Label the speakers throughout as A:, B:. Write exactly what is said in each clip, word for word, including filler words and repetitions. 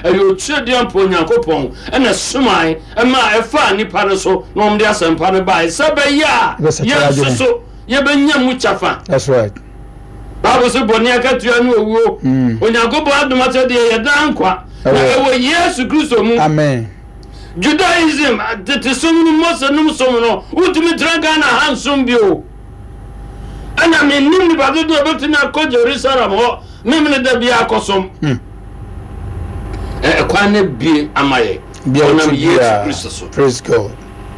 A: Ɛyɛ Otuadiampo Onyankopɔn ɛna somae ɛma ɛfaa nnipa no so na wɔn de asɛmpa no bae sɛ ɛbɛyɛ a yɛn nso so yɛbɛnya mu kyɛfa.
B: That's right.
A: Bible sɛ bɔne akatua ne owuo.
B: Mm.
A: Onyankopɔn adom akyɛdeɛ yɛ daa nkwa na ɛwɔ Yesu Kristo mu.
B: Amen.
A: Judaism, tete som no, Mose nom som no, wontumi tena Ghana ha nsom bio. Ɛna mennim nipa dodoɔ a ɛbɛtumi akɔ Jerusalem hɔ memene da biara akɔsom.
B: Hmm.
A: Ɛkwan no bie ama yɛ. Ɔnam Yesu Kristo so.
B: Praise God.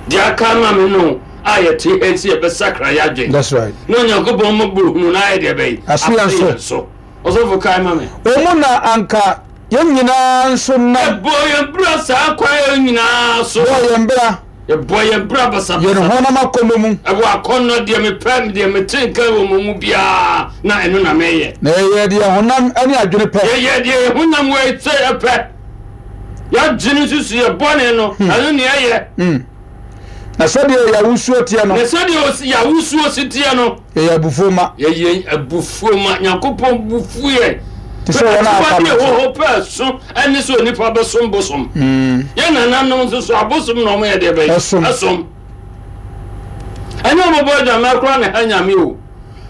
A: Deɛ aka ama me no a yɛte ha sɛ yɛbɛsakra yɛ adwene.
B: That's right.
A: Na Onyankopɔn mmɔborɔhunu no ayɛ deɛ bɛyi.
B: Aso yɛn so.
A: So. Ɔsɔfo kae ma me.
B: Wɔn mu na anka yɛn nyinaa nso nam.
A: Yɛbɔ yɛn bra saa kwan yɛn nyinaa so.
B: Bɔ yɛn bra.
A: Yɛbɔ yɛn bra basabasa.
B: Yɛn honam akɔnnɔ mu.
A: Ɛwɔ akɔnnɔ deɛ mepɛ deɛ mete nka wɔ mo mu biara na ɛno na mɛyɛ.
B: Na yɛyɛ deɛ honam ne adwene pɛ.
A: Yɛyɛ deɛ yɛn honam wɔ sɛ ɛpɛ. Yɛadwene nsusu yɛ bɔne no ɛno ne ɛyɛ.
B: Na sɛdeɛ yɛawosuo teɛ no.
A: Na sɛdeɛ yɛawosuo si teɛ no.
B: Yɛyɛ abufuo ma.
A: Yɛyɛ abufuo ma. Nyankopɔn bufu yɛn.
B: Te sɛ wɔn a aka
A: no. Ɛwɔ hɔ pɛ so ɛne sɛ onipa bɛsom bosom. Yɛn nananom nso so abosom na wɔn yɛ deɛ bɛyɛ.
B: Ɛsom.
A: Ɛsom. Ɛnyɛ wɔn bɔ adwamɛ koraa na ɛha Nyame o.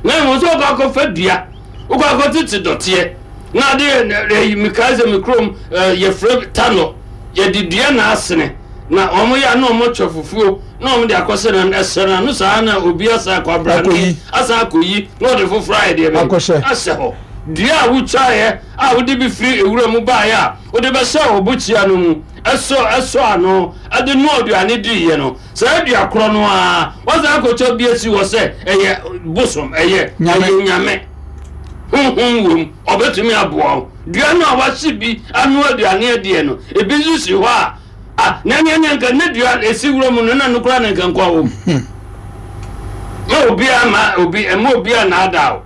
A: Na mmom sɛ ɔkɔ akɔfa dua, ɔkɔ akɔtete dɔteɛ. Na ade ɛyi mekae sɛ me kurom yɛfrɛ tanɔ yɛde dua na asene na wɔn yɛ na wɔn atwa fufuo na wɔn de akɔsɛ na ɛsɛ na no saa na obi asa akɔ abrane asa akɔyi na ɔde foforɔ ayɛ deɛ bɛyɛ ahyɛ hɔ. Dua a wotwaeɛ a wode bi firi ewura mu baeɛ a wode bɛhyɛ ɔbokyia no mu ɛsɔ ɛsɔ ano ɛde noa aduane diiɛ no saa dua korɔ no a wɔsan akɔtwa bi asi hɔ sɛ ɛyɛ bosom ɛyɛ ɛyɛ nyame honhom wom ɔbɛtumi aboa wo. Dua no a wahye bi ano aduane adiɛ no ebi nso si hɔ a ah na nea nea nka ne dua esi wura mu no na no koraa na nka nkwa wɔ mu. Ma obi ama obi ɛma obi a naadaa o.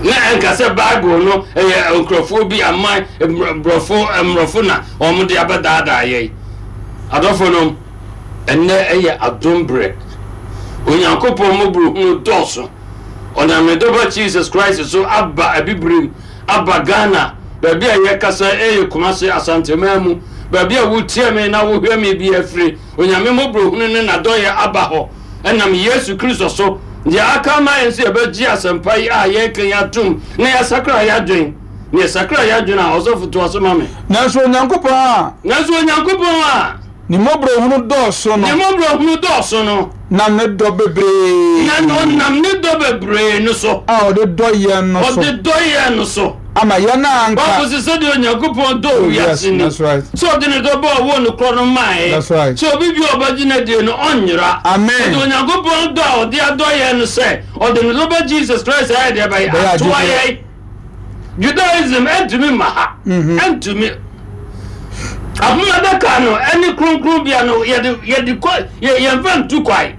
A: Na ɛnka sɛ Bible no ɛyɛ nkurɔfoɔ bi aman mmorɔfo mmorɔfo na wɔn de abɛdaadaa yɛn. Adɔfo nom, ɛnnɛ ɛyɛ adom berɛ. Onyankopɔn mmɔborɔhunu dɔɔso. Ɔnam ne dɔba Jesus Christ so aba Abibirim, aba Ghana, baabi a yɛkasa ɛyɛ Kumasi, Asanteman mu, baabi a wotie me na wohwɛ me bi afiri. Onyame mmɔborɔhunu ne n'adɔyɛ aba hɔ ɛnam Yesu Kristo so. Deɛ aka ama yɛn sɛ yɛbɛgye asɛmpa yi a yɛreka yi atom na yɛasakra yɛn adwene. Na yɛsakra yɛn adwene a, ɔsɔfo toa so ma me.
B: Nanso Onyankopɔn a.
A: Nanso Onyankopɔn a.
B: Ne mmɔborɔhunu dɔɔso no.
A: Ne mmɔborɔhunu dɔɔso no.
B: Nam ne dɔ bebree.
A: Na ɔnam ne dɔ bebree no so.
B: A ɔde dɔ yɛn no so.
A: Ɔde dɔ yɛn no so.
B: Ama yɛn a anka.
A: Bible sɛ sɛdeɛ Onyankopɔn dɔ wiase ni.
B: That's right.
A: Sɛ ɔde ne dɔ bɔ ɔwɔ no korɔ no maeɛ.
B: That's right.
A: Sɛ obi bi a ɔbɛgye no adie no ɔnyera.
B: Amen.
A: Ɔde Onyankopɔn dɔ a ɔde adɔ yɛn no sɛ ɔde ne dɔ bɛ Jesus Christ ayɛ deɛ bɛyɛ atoa yɛn. Judaism ɛntumi mma ha. Ɛntumi. Apam adaka no ɛne kronkronbea no yɛde yɛde kɔ yɛ yɛnfa ntu kwan.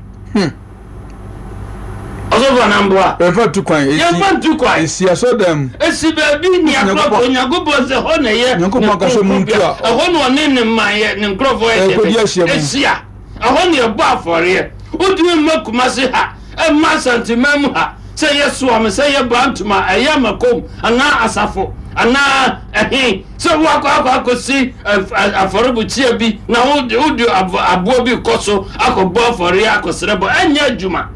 A: Ɔsɔfo anamboa.
B: Yɛnfa ntu kwan.
A: Yɛnfa ntu kwan.
B: Esi asɔdan mu.
A: Esi baabi ni akorɔfo Onyankopɔn sɛ hɔ na ɛyɛ ne kronkronbea. Ɛhɔ na ɔne ne man yɛ ne nkurɔfoɔ yɛ deɛ ehyia. Ɛhɔ na yɛbɔ afɔreɛ. Wotumi mma Kumasi ha, ɛmma Asanteman mu ha sɛ yɛ soa me sɛ yɛ Bantama ɛyɛ Amakom anaa Asafo anaa ɛhe sɛ woakɔ akɔ akɔsi afɔrebukyia bi na wode aboa bi kɔ so akɔbɔ afɔreɛ akɔsrɛ bɔ ɛnyɛ adwuma.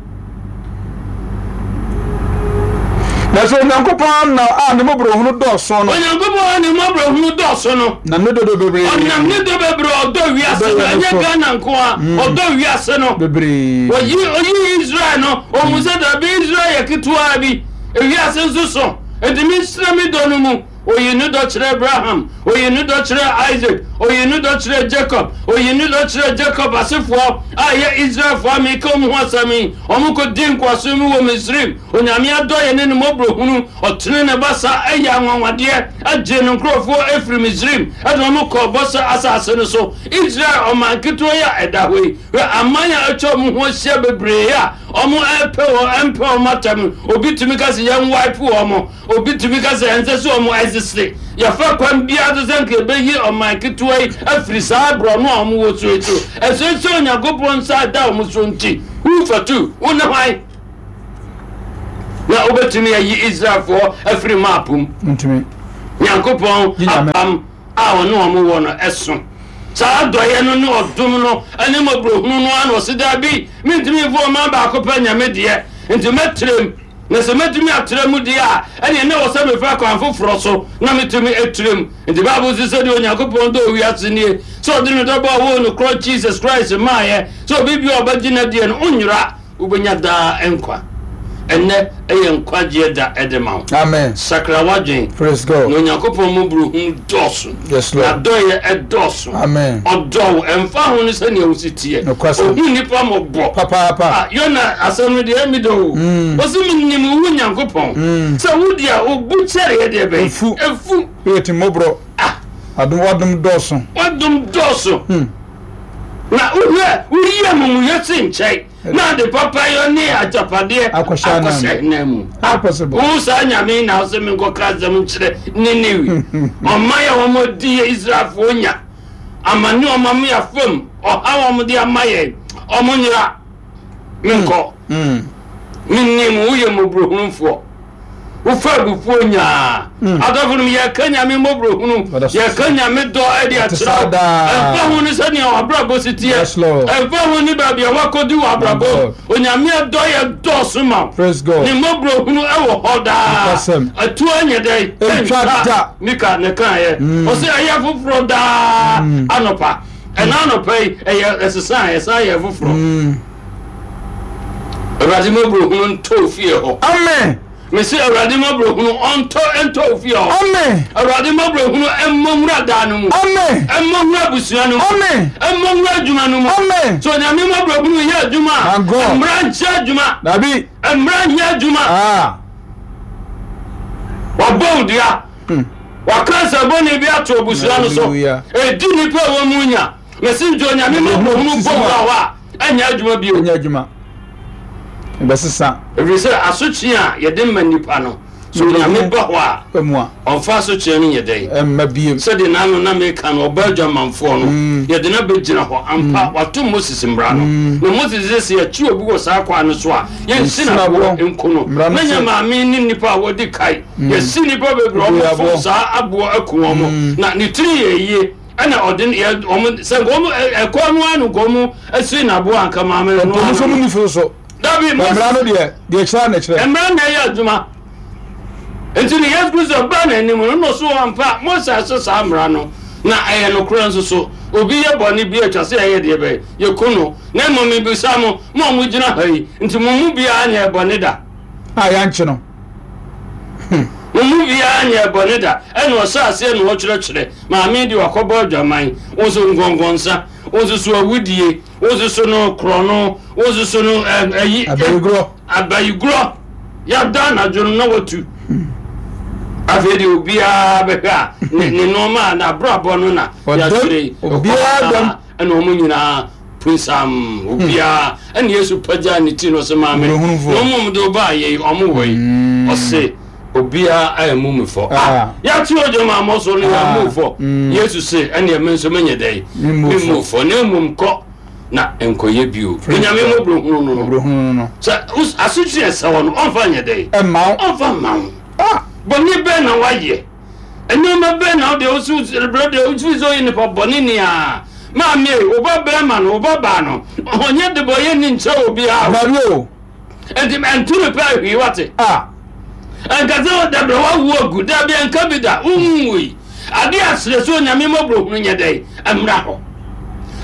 B: Nanso Onyankopɔn na a ne mmɔborɔhunu dɔɔso no.
A: Onyankopɔn a ne mmɔborɔhunu dɔɔso no.
B: Nam ne dɔ bebree.
A: Ɔnam ne dɔ bebree ɔdɔ wiase no ɛnyɛ Ghana nko a ɔdɔ wiase no.
B: Bebree.
A: Oyi oyi Israel no ohun sɛ dabi Israel yɛ ketewa bi ewiase nso so enti mi nsira mi dɔ no mu. Oyi ne dɔ kyerɛ Abraham, oyi ne dɔ kyerɛ Isaac, oyi ne dɔ kyerɛ Jacob, oyi ne dɔ kyerɛ Jacob asefoɔ a ɛyɛ Israelfoɔ a meka wɔn ho asɛm yi. Wɔn kɔdi nkoasom mu wɔ Misraim. Onyame adɔeɛ ne ne mmɔborɔhunu, ɔtene ne basa yɛ anwanwadeɛ, gyee ne nkurɔfoɔ firii Misraim de wɔn kɔɔ bɔhyɛ asase no so. Israel ɔman ketewa yi a ɛda hɔ yi, hwɛ aman a atwa wɔn ho ahyia bebree a wɔrepɛ wɔn, mpɛ wɔn atɛm. Obi tumi ka sɛ yɛn wipe wɔn. Obi tumi ka sɛ ɛnsɛ sɛ wɔn ɛsese. Yɛfa kwan biara so sɛ nka yɛbɛyi ɔman ketewa yi afiri saa borɔno a wɔn wɔ so yi so. Ɛsɛ sɛ Onyankopɔn nsa da wɔn so nti, who for two? Wo ne hwan? Na wobɛtumi ayi Israelfoɔ afiri map mu?
B: Ntumi.
A: Nyankopɔn
B: Gye Nyame.
A: Apam a ɔne ɔmo wɔ no ɛso saa adɔeɛ no ne ɔdom no ɛne mmɔborɔhunu no ano. Ɔse daabi, mentumi mfo ɔman baako pɛ Nyame deɛ, nti mɛtrɛm, na sɛ mɛtumi atrɛ mu deɛ a, ɛneɛ ne wɔ sɛ mefa kwan foforɔ so na metumi atrɛm. Nti Bible sɛ sɛdeɛ Onyankopɔn dɔ owiase nie, sɛ ɔde ne dɔbɔ a ɔwɔ no korɔ Jesus Christ maayɛ, sɛ obi bia ɔbɛgye no deɛ no ɔnyera, wobɛnya daa nkwa. Ɛnnɛ ɛyɛ nkwagyeɛ da ɛde ma wo.
B: Amen.
A: Sakra w'adwen.
B: Praise
A: Na
B: God.
A: Onyankopɔn mmɔborɔhunu dɔɔso.
B: Yes, Lord.
A: N'adɔyɛ ɛdɔɔso.
B: Amen.
A: Ɔdɔ wo ɛmfa ho no sɛnea wosi teɛ.
B: Nokwasɛm.
A: Ɔhu nnipa mmɔbɔ.
B: Papaapa.
A: Ah, Yona asɛm no deɛ ɛmi dɔ o.
B: Mm.
A: Ɔsi menim wo Nyankopɔn
B: Mm.
A: sɛ wo deɛ wo kyɛreɛ deɛ bɛn?
B: Efu.
A: Efu.
B: Woyɛ ti mmɔborɔ.
A: Ah.
B: Adom wadom dɔɔso.
A: Wadom dɔɔso.
B: Hmm.
A: Na wohwɛ woyi amumuyɛ se nkyɛn na ade papa yɛ ne agyapadeɛ
B: Akɔhyɛ anan mu.
A: akɔhyɛ nan mu.
B: How possible?
A: Wo saa Nyame na wosɛ menkɔka asɛm nkyerɛ Ninewi ɔman a wɔn di yɛ Israelfoɔ nya amane, ɔma me afam ɔha wɔn de ama yɛn, ɔmo nyera menkɔ.
B: Mm.
A: Menim woyɛ mmɔborɔhunufoɔ, wofa abufuo nyaa. Adɔfo nom, yɛka Nyame mmɔborɔhunu,
B: Ɔda so.
A: yɛka Nyame dɔ ɛde
B: Ɔte
A: akyerɛ
B: saa
A: wo.
B: daa.
A: Ɛmfa ho ne sɛnea wabrabɔ si teɛ,
B: Yes, Lord.
A: ɛmfa ho ne baabi a wakɔdi wɔ abrabɔ,
B: God.
A: Onyame dɔ yɛ dɔɔso ma wo.
B: Praise God.
A: Ne mmɔborɔhunu ɛwɔ hɔ daa.
B: Nokwasɛm.
A: Atuo nyɛ dɛn?
B: Ɛntwa da.
A: Mika ne kaeɛ, ɔsɛ ɛyɛ foforɔ daa anɔpa. Ɛna anɔpa yi ɛyɛ ɛsesa, ɛsan yɛ foforɔ.
B: Mm.
A: Awurade mmɔborɔhunu ntɔ fie hɔ.
B: Amen.
A: Mesi Awurade mmɔborɔhunu ɔntɔ ntɔ fie hɔ.
B: Amen.
A: Awurade mmɔborɔhunu ɛmmɔ nwura daa no mu.
B: Amen.
A: Ɛmmɔ nwura abusua no mu.
B: Amen.
A: Ɛmmɔ nwura adwuma no mu.
B: Amen.
A: So Onyame mmɔborɔhunu yɛ adwuma a,
B: My God.
A: mmara nkyɛ adwuma.
B: Dabi.
A: Mmara nyɛ adwuma.
B: Ah.
A: Wabɔ wo dua,
B: Hmm.
A: waka nsɛbɔne bi ato abusua no so.
B: Hallelujah.
A: Ɛdi nnipa a wɔ mu nya, mesi nti Onyame mmɔborɔhunu bɔ wura hɔ a, ɛnyɛ adwuma bio.
B: Ɛnyɛ adwuma. Ɛbɛsesa.
A: Ɛfiri sɛ asotwe a yɛde ma nnipa no so, Onyame ba hɔ a,
B: Ɛmu a.
A: ɔmfa asotwe no nyɛ dɛn?
B: Ɛmma biem.
A: Sɛdeɛ n'ano na meka no, ɔba adwamanfoɔ no,
B: Mm.
A: yɛde no bɛgyina hɔ ampa, wato Moses mmara no, na Moses sɛ sɛ yɛkye obi wɔ saa kwan no so a, yɛnsi
B: Yɛnsi
A: naboɔ
B: n'aboɔ.
A: nko no.
B: Mmara no
A: Na nyɛ
B: sɛ-
A: maame ne nnipa a wɔdi kae, yɛsi nnipa bebree
B: Bebree
A: ɔmofo
B: aboɔ.
A: saa aboɔ aku wɔn mo, na ne tiri yɛ yie, ɛna ɔde yɛ ɔmo sɛ nka ɔmo ɛ- ɛkɔ no ano nka ɔmo asi naboɔ anka maame no
B: Ɔmo nso
A: ano
B: mu nifi so.
A: Dabi.
B: Na mmara no
A: Moses
B: deɛ deɛ kyerɛ na kyerɛ.
A: Mmara na ɛyɛ adwuma, nti ne Yesu Kristo ba n'anim no no so ampa Mose ase saa mmara no na ɛyɛ nokorɛ nso so obi yɛ bɔne bi atwa sɛ ɛyɛ deɛ bɛyɛ yɛku no. Na mmom mebisa mo, mo a mogyina ha yi, nti mo mu biara nyɛ bɔne da
B: A yɛankye no.
A: Mo mu biara nyɛ bɔne da? Ɛna ɔhyɛ aseɛ na ɔkyerɛkyerɛ maame de wakɔbɔ adwaman, wo nso nkɔnkɔnsa, wo nso so awudie, wo nso so no korɔno, wo nso so no ɛ- ɛyi
B: Abayigorɔ.
A: Abayigorɔ yɛda anadwo no na watu. Afei deɛ obiara bɛhwɛ a ne ne nneɛma a n'abrabɔ no na
B: Ɔdam,
A: yɛakyerɛ yi.
B: Obiara dam.
A: Ɛna wɔn nyinaa punsam obiara, ɛna Yesu pagya ne ti no sɛ maame
B: Mmɔborɔhunufoɔ.
A: na ɔmo de ɔbaa yɛ yi, ɔmo wɔ yi, ɔse obiara a ɛmu mi fɔ.
B: Ah.
A: Yɛate ogya ma amɔ so no,
B: Ah.
A: yɛamu fɔ.
B: Mm.
A: Yesu se ɛne ɛme nso menyɛ dɛn?
B: Memmu fɔ.
A: Memmu fɔ, na mmom kɔ na nkɔyɛ bio.
B: Praise
A: Onyame
B: God.
A: mmɔborɔhunu no no
B: Mmɔborɔhunu no.
A: sɛ us- asotwe ɛsɛ hɔ no, ɔmfa nyɛ dɛn?
B: Ɛmma wo.
A: Ɔmfa mma wo.
B: Ah.
A: Bɔne bɛn na wayɛ? Nneɛma bɛn na wode wosi brɛ deɛ wofiri sɛ ɔyɛ nipa bɔne nea maame yi, wo ba bɛrima no, wo ba baa no, ɔnyɛ de bɔyɛ ni nkyɛ obiara o.
B: Dabi o.
A: Nti ɛnto no pɛ hwii wate.
B: Ah.
A: Ɛnka sɛ dabrɛ wawu agu, dabi, ɛnka bi da wonwui. Ade aserɛ sɛ Onyame mmɔborɔhunu nyɛ dɛn? Mmra hɔ.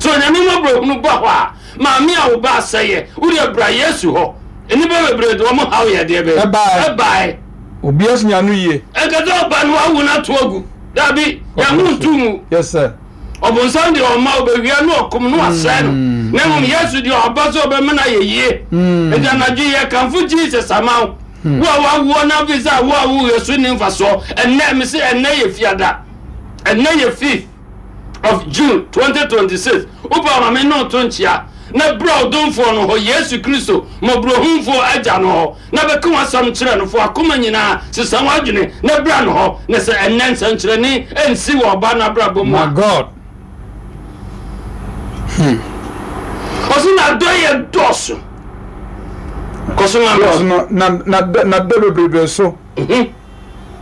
A: Sɛ Onyame mmɔborɔhunu ba hɔ a, maame a wo ba asɛyɛ, wode bra Yesu hɔ. Nnipa bebree de wɔn haw yɛ deɛ bɛyɛ
B: Ɛbae.
A: Ɛbae.
B: Obiara so nya no yie.
A: Ɛnka sɛ ɔba no wawu no ato agu, dabi, yɛho nto mu.
B: Yes sir.
A: Ɔbonsam deɛ ɔma ɔbɛwia ne ɔkom ne wasɛe no, na mmom Yesu deɛ ɔba sɛ ɔbɛma no ayɛ yie. Nti anadwo yi yɛkamfo Jesus ama wo, wo a wawoɔ no afei sɛ awo a woyɛ so nni mfasoɔ. Ɛnnɛ mese ɛnnɛ yɛ Fiada, ɛnnɛ yɛ fifth of June twenty twenty-six. Wopɛ ma me ne ɔto nkyea na berɛ ɔdomfoɔ no hɔ, Yesu Kristo mmɔborɔhumfoɔ agya no hɔ, na bɛka w'asɛm kyerɛ no fo akoma nyinaa, sesa w'adwene na bra no hɔ, na sɛ ɛnnɛ nsɛnkyerɛnne ɛnsi wɔ ɔba no abrabɔ mu
B: My
A: a,
B: God.
A: Ɔso n'adɔ yɛ dɔɔso kɔ so ma
B: Dɔɔso
A: me.
B: no na na na dɔ bebrebe so.
A: Mhm.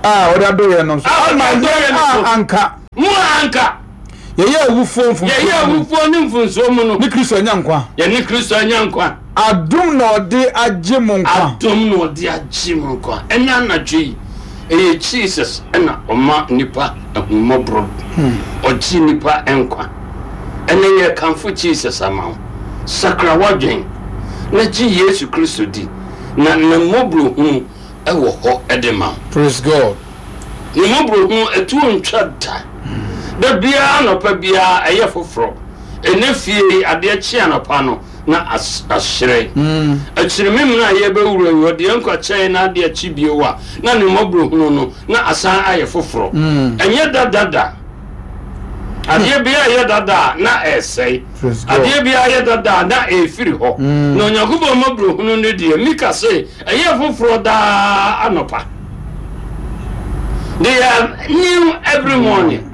B: A A ɔde adɔ yɛn no so.
A: A ɔde
B: Ama
A: adɔ yɛn
B: yɛn
A: no so.
B: a anka
A: Mo a anka
B: yɛyɛ awufoɔ mfomsoɔ
A: yɛyɛ
B: mu no,
A: awufoɔ ne mfomsoɔ mu no,
B: ne Kristo anya nkwa.
A: Yɛne Kristo anya nkwa.
B: Adom na ɔde agye mo nkwa.
A: Adom na ɔde agye mo nkwa. Ɛna anadwo yi, ɛyɛ Jesus ɛna ɔma nipa ahummɔborɔ, ɔgye nipa nkwa. Ɛnɛ yɛ kamfo Jesus ama wo. Sakra w'adwen na gye Yesu Kristo di, na ne mmɔborɔhunu ɛwɔ hɔ ɛde ma wo.
B: Praise God.
A: Ne mmɔborɔhunu ɛtuo ntwa da. Da biara anɔpa biara ɛyɛ foforɔ. Ɛnɛ fie yi, adeɛ kye anɔpa no na as- ahyerɛn.
B: Mm.
A: Akyiri memena a yɛbɛwura yi, ɔde yɛn nkwa kyɛn na adeɛ kye bio a, na ne mmɔborɔhunu no na asan ayɛ foforɔ.
B: Mm.
A: Ɛnyɛ dadada. Adeɛ biara yɛ dada a, na ɛsɛe.
B: Praise God.
A: Adeɛ biara yɛ dada a, na ɛfiri hɔ.
B: Mm.
A: Na Onyankopɔn mmɔborɔhunu no deɛ, Mika se ɛyɛ foforɔ daa anɔpa. They are new every morning.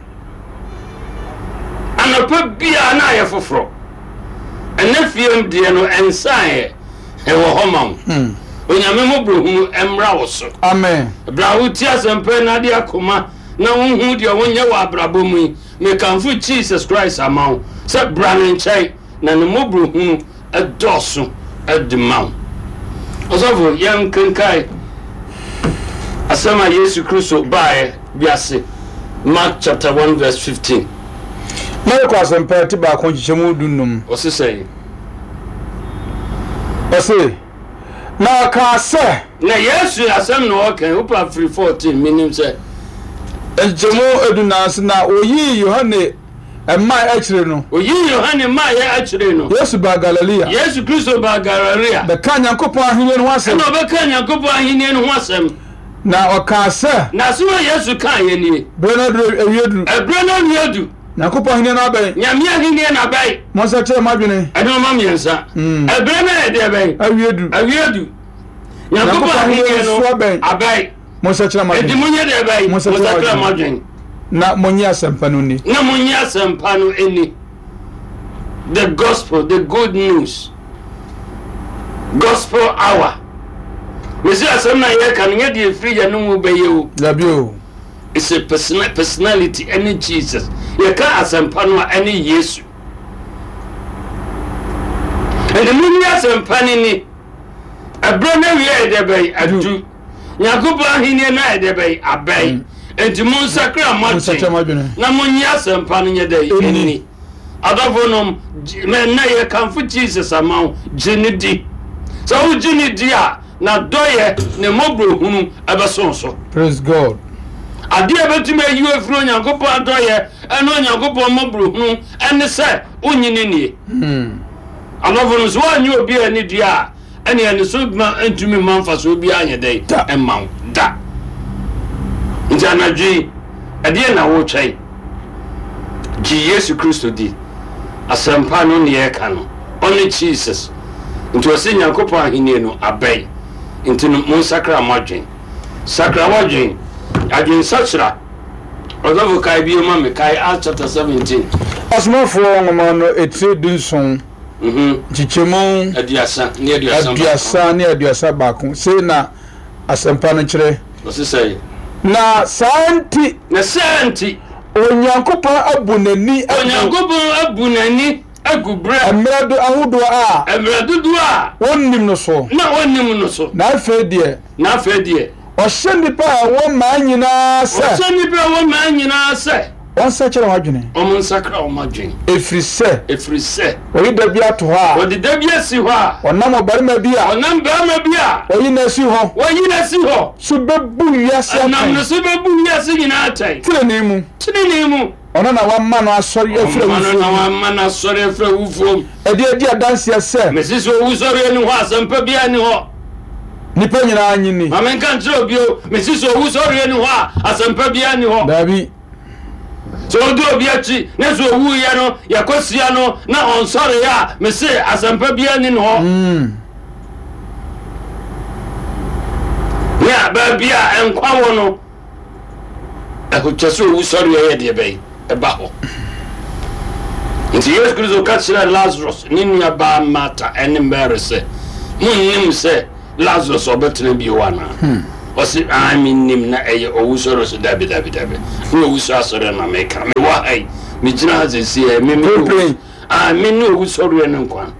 A: Anɔpa biara na ayɛ foforɔ. Ɛnɛ fiem deɛ no ɛnsaeɛ, ɛwɔ hɔ ma wo.
B: Mm.
A: Onyame mmɔborɔhunu ɛmmra wo so.
B: Amen.
A: Bra wotie asɛmpa na ade akoma na wohu deɛ wonyɛ wɔ abrabɔ mu yi, mekamfo Jesus Christ ama wo sɛ bra ne nkyɛn na ne mmɔborɔhunu ɛdɔɔso ɛde ma wo. Ɔsɔfo, yɛnkenkae asɛm a Yesu Kristo baeɛ wiase, Mark chapter one verse fifteen.
B: Marko Asɛmpa ti baako nkyekyɛmu du num.
A: Ɔse sɛn?
B: Ɔse, na ɔkaa sɛ,
A: Na Yesu asɛm na ɔka, wopa firi fourteen, menim sɛ
B: nkyekyɛmu edunan so, na oyii Yohane mmaa akyire no,
A: oyii Yohane maayɛ akyire no,
B: Yesu baa Galilea,
A: Yesu Kristo baa Galilea,
B: bɛka Nyankopɔn ahenni no ho asɛm.
A: Ɛna ɔbɛka Nyankopɔn ahenni no ho asɛm.
B: Na ɔkaa sɛ,
A: Na asɛm a Yesu kaa yɛ nie:
B: berɛ no aduru awie duru.
A: Ɛberɛ no awie du.
B: Nyankopɔn ahenni no abɛn.
A: Nyame ahenni no abɛn.
B: Monsakyerɛ mo adwene.
A: Ɛnɔɔma mmiɛnsa.
B: Mm.
A: Ɛberɛ no yɛ deɛ bɛn?
B: Awie du.
A: Awie du. Nyankopɔn ahenni no
B: so abɛn.
A: Abɛn.
B: Monsakyerɛ mo
A: enti
B: adwene.
A: monyɛ deɛ bɛn?
B: Monsakyerɛ mo
A: Monsakra mo
B: adwene.
A: adwene.
B: Na monye asɛmpa no ni.
A: Na monyɛ asɛmpa no ani. The gospel, the good news, gospel hour. Mesi asɛm na yɛka no nyɛ deɛ ɛfiri yɛn no mu bɛyɛ o.
B: Dabi o.
A: It's a person personality ɛne Jesus. Yɛka asɛmpa no a, ɛne Yesu. Ɛnti monni asɛmpa no ni. Ɛberɛ no awie yɛ deɛ bɛn? Adu. Nyankopɔn ahenni no ayɛ deɛ bɛn? Abɛn. Enti monsakra mo
B: Monsakyerɛ mo
A: adwene
B: adwene.
A: Na monnye asɛmpa no nyɛ dɛ?
B: Ɛnni.
A: Ɛnni. Adɔfo nom, nnɛ yɛkamfo Jesus ama wo. Gye ne di. Sɛ wogye ne di a, na dɔyɛ ne mmɔborɔhunu ɛbɛso so.
B: Praise God.
A: Adeɛ a bɛtumi ayi wo afiri Onyankopɔn adɔyɛ ɛne Onyankopɔn mmɔborɔhunu ɛne sɛ wonyi ne nie.
B: Hmm.
A: Adɔfo no, so woanyɛ obi a ani dua a, ɛne ɛne so ma ntumi mma mfasoɔ biara nyɛ dɛn?
B: Da.
A: Ɛmma wo da. Nti anadwo yi, ɛdeɛ na wotwɛn? Gye Yesu Kristo di. Asɛmpa no ne yɛreka no, ɔne Jesus. Nti ɔsɛ Nyankopɔn ahenni no abɛn, nti no monsakra mo adwen. Sakra w'adwen, adwensakyera. Ɔsɔfo, kae bio ma me, kae Acts chapter seventeen.
B: Asomafoɔ nwoma no etire dunson,
A: Mhm.
B: nkyekyɛmu
A: aduasa ne aduasa baako.
B: Aduasa ne aduasa baako. Sei na asɛmpa no kyerɛ.
A: Ɔse sɛ,
B: Na saa nti,
A: na saa nti,
B: Onyankopɔn abu n'ani agu
A: Onyankopɔn abu n'ani agu berɛ
B: mmerɛ do ahodoɔ a
A: mmerɛ dodoɔ a
B: wɔnnim no so.
A: Na ɔnnim no so.
B: Na afei deɛ,
A: Na afei deɛ,
B: ɔhyɛ nnipa a ɛwɔ mmaa nyinaa sɛ
A: ɔhyɛ nnipa a ɛwɔ mmaa nyinaa sɛ
B: wɔnsakyerɛ wɔn adwene,
A: ɔmo nsakra ɔmo adwene,
B: ɛfiri sɛ
A: ɛfiri sɛ
B: wɔyi da bi ato hɔ a
A: wɔde da bi asi hɔ a
B: ɔnam ɔbarima bi a
A: ɔnam barima bi a
B: wɔyi no asi hɔ
A: wɔyi no asi hɔ
B: so bɛbu wiase
A: ɛnam no
B: atɛn
A: so bɛbu wiase nyinaa atɛn
B: tenenee mu.
A: Tenenee mu.
B: Ɔno na wama no asɔre afiri
A: ɔma no
B: awufoɔ
A: na
B: mu,
A: wama no asɔre afiri awufoɔ mu,
B: ɛde adi adanseɛ sɛ
A: mesi sɛ owusɔre ani hɔ, asɛmpa biara ni hɔ.
B: Nnipa nyinaa nye ni.
A: Ma menka nkyerɛ obio, mesi sɛ owusɔre ani hɔ a, asɛmpa biara ni hɔ.
B: Daabi.
A: Sɛ wodi obi akyi na sɛ owuyɛ no yɛkɔsia no na ɔnsɔre a, mese asɛmpa biara ni hɔ.
B: Mm.
A: Nea baabi a nkwa wɔ no, ɛho kyɛ sɛ owusɔre yɛ deɛ bɛyi ɛba hɔ. Nti Yesu Kristo ka kyerɛɛ Lazarus ne nuabaa Marta ɛne Mary sɛ, monnim sɛ Lazarus ɔbɛtena bio anaa? Ɔse ah, mennim na ɛyɛ owusɔre so. Dabi, dabi, dabi, ne owusu asɔre na meka. Mewɔ ha yi, megyina ha sɛsi ɛ, me me ah, me ne owusɔreɛ no nkwa.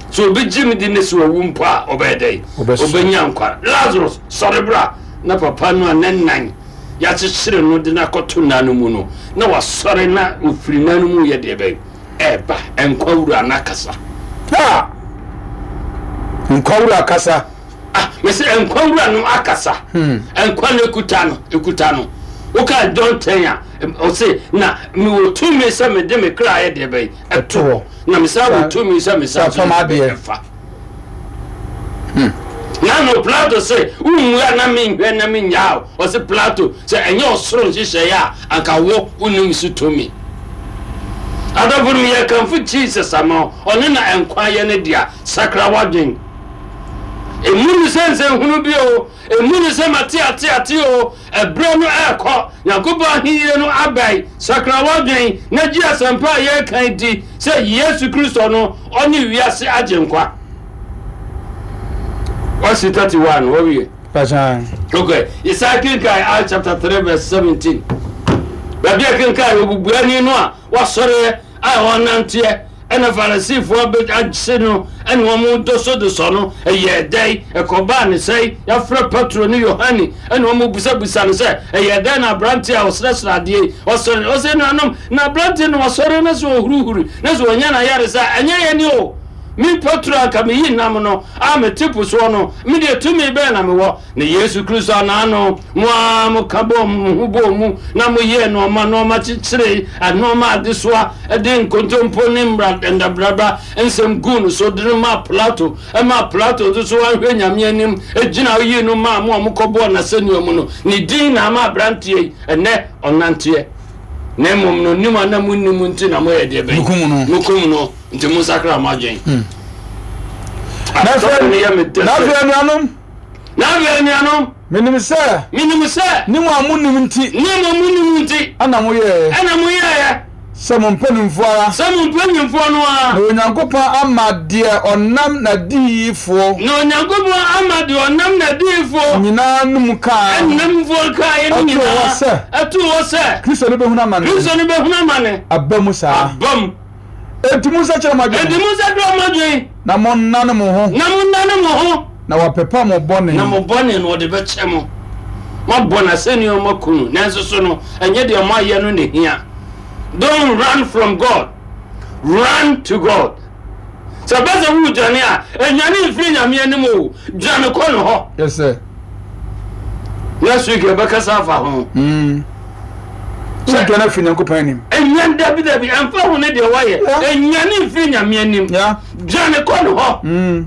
A: So obi gye me di ne sɛ ɔwu mpo a, ɔbɛyɛ dɛn? Ɔbɛnya nkwa. Lazarus, sɔre bra. Na papa no a ne nan yɛakyekyere no de no akɔto nna no mu no, na wasɔre na ofiri nna no mu yɛ deɛ bɛn? Ɛɛba. Nkwa wura no akasa.
B: Ha! Nkwa wura akasa.
A: Ah, mese nkwa wura no akasa.
B: Hmm.
A: Nkwa no ekuta no, ekuta no. Woka John ten a, ɔse na mewɔ tumi sɛ mede me kra ayɛ deɛ bɛn? Ɛto hɔ. Na mesa wɔ tumi sɛ mesa so ɛfa.
B: Hmm.
A: Na no Plato se, wonwura na menhwɛ na menyaa wo. Ɔse Plato, sɛ ɛnyɛ ɔsoro nhyehyɛeɛ a, anka wo wonim so tumi. Adɔfo no, yɛkamfo Jesus ama wo. Ɔno na nkwa yɛ ne dea. Sakra w'adwen. Emu no sɛ nsɛnhunu bi o, emu no sɛ mate ate ate o, ɛberɛ no ɛrekɔ. Nyankopɔn ahennie no abɛn. Sakra w'adwen na gye asɛmpa a yɛreka di sɛ Yesu Kristo no, ɔne wiase agyenkwa. Wasi thirty-one, wɔwie. Okay, Isaiah kenkan Acts chapter three verse seventeen. Baabi a kenkan obubuani no a wasɔre a ɔnanteɛ, ɛna Farisifoɔ agye no ɛna wɔn dosodosɔ no, ɛyɛ dɛn ɛkɔbaa ne sɛe? Yɛafrɛ Petro ne Yohane ɛna wɔn busabusa no sɛ ɛyɛ dɛn na aberanteɛ a ɔsrɛsrɛ adeɛ yi ɔsɔre? Ɔsɛ nuanom, na aberanteɛ no wasɔre na sɛ ɔhurihuri na sɛ ɔnya n'ayaresa, ɛnyɛ yɛn ni o. Me Petro anka meyi nam no a mete po soɔ no, medeɛ tumi bɛn na mewɔ? Na Yesu Kristo anaano mo a moka bɔɔ mo ho bɔɔ mu na moyɛɛ nnoɔma nnoɔma kyekyeree nnoɔma adesoa de nkontompo ne mmara ndabraba nsɛm guu no so de no maa Plato, ɛmaa Plato nso so anhwɛ Nyame anim gyina yii no maa mo a mokɔbɔɔ n'asɛnnua mu no. Ne din na ama aberanteɛ yi ɛnɛ ɔnanteɛ. Na mmom no, nim a na monnim nti na moyɛ deɛ bɛn? Mokum no. Nti monsakra mo adwen.
B: Na afei anuanom,
A: na afei anuanom,
B: menim sɛ,
A: menim sɛ,
B: ne mo a monnim nti,
A: ne mo monnim nti,
B: ɛna moyɛɛ,
A: ɛna moyɛɛ,
B: sɛ mo mpanimfoɔ ara,
A: sɛ mo mpanimfoɔ no ara,
B: na Onyankopɔn ama deɛ ɔnam n'adiyifoɔ,
A: na Onyankopɔn ama deɛ ɔnam n'adiyifoɔ
B: nyinaa no mu kaa,
A: ɛnamfoɔ kaeɛ no nyinaa, ɛtoo hɔ sɛ,
B: Kristo no bɛhunu amane,
A: Kristo no bɛhunu amane,
B: aba mu saa,
A: aba mu.
B: Enti monsakyera mo adwene.
A: Enti monsakyera mo adwene.
B: Na monnane mo ho.
A: Na monnane mo ho.
B: Na wɔapepa mo bɔne.
A: Na mo bɔne no wɔde bɛkyɛ mo. Moabɔ n'asɛnnua mu aku no, nanso so no, ɛnyɛ deɛ moayɛ no na ehia. Don't run from God, run to God. Sɛ ɛba sɛ woredwane a, nnwane mfiri Nyame anim o, dwane kɔ ne hɔ.
B: Yes sir.
A: Next week yɛbɛkasa afa ho.
B: Mm. Sɛ dwane afiri Nyankopɔn anim.
A: Ɛnyan dabi dabi, ɛmfa ho ne deɛ wayɛ. Ɛnwane mfiri Nyame anim. Dwane kɔ ne hɔ.
B: Mm.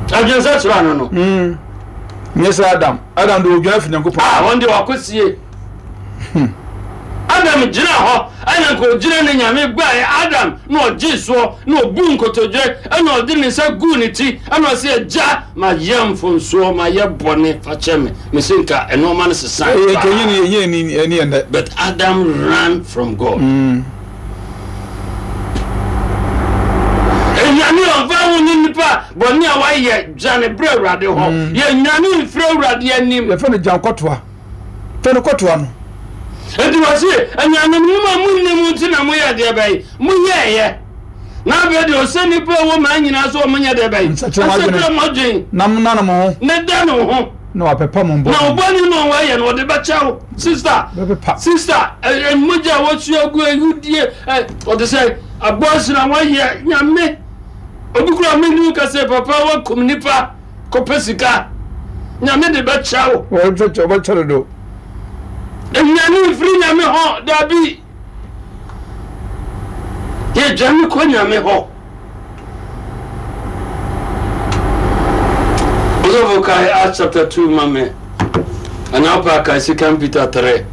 A: Adwensɛ kyerɛ ano no.
B: Mm. Nyɛ sɛ Adam. Adam de odwane afiri Nyankopɔn.
A: Ah, wɔn de wakɔsie.
B: Hmm.
A: Adam gyina hɔ, ɛna nka ogyina ne Nyame gbaeɛ Adam na ɔgye soɔ na ɔbu nkotodwe ɛna ɔde ne nsa guu ne ti ɛna ɔsɛ agya ma yɛ mfonsoɔ ma yɛ bɔne fa kyɛ me. Mese nka ɛnɔɔma no sesa. But Adam ran from God.
B: Mm.
A: Enyane ɔmfa ho ne nipa bɔne a wayɛ dwane berɛ Awurade hɔ. Yɛnwane mfiri Awurade anim.
B: Yɛfɛ no gyankɔtoa. Fɛ no kɔtoa no.
A: Enti wɔse, anuanom, mo a monnim nti na moyɛ deɛ bɛn? Moyɛeɛ. Na afei deɛ ɔsɛ nnipa a ɛwɔ maa nyinaa so wɔn nyɛ deɛ bɛn?
B: Nsakyera mo adwene.
A: Nsakyera mo adwene.
B: Na monnane mo ho.
A: Na da ne ho.
B: Na wapepa mo bɔne.
A: Na ɔbɔne no a wɔayɛ no ɔde bɛkyɛ wo. Sister,
B: Bɛpepa.
A: sister, mogya a wɔsua gu awudie, ɔde sɛ abɔɔhyena a wɔayɛ Nyame. Obi kura menu ka sɛ papa wakum nipa kɔpɛ sika. Nyame de bɛkyɛ wo.
B: Ɔbɛkyɛ ɔbɛkyɛ dodo.
A: Enyane mfiri Nyame hɔ, dabi. Yɛdwane kɔ Nyame hɔ. Ɔsɔfo kae Acts chapter two ma me. Anaa wopɛ akae Second Peter three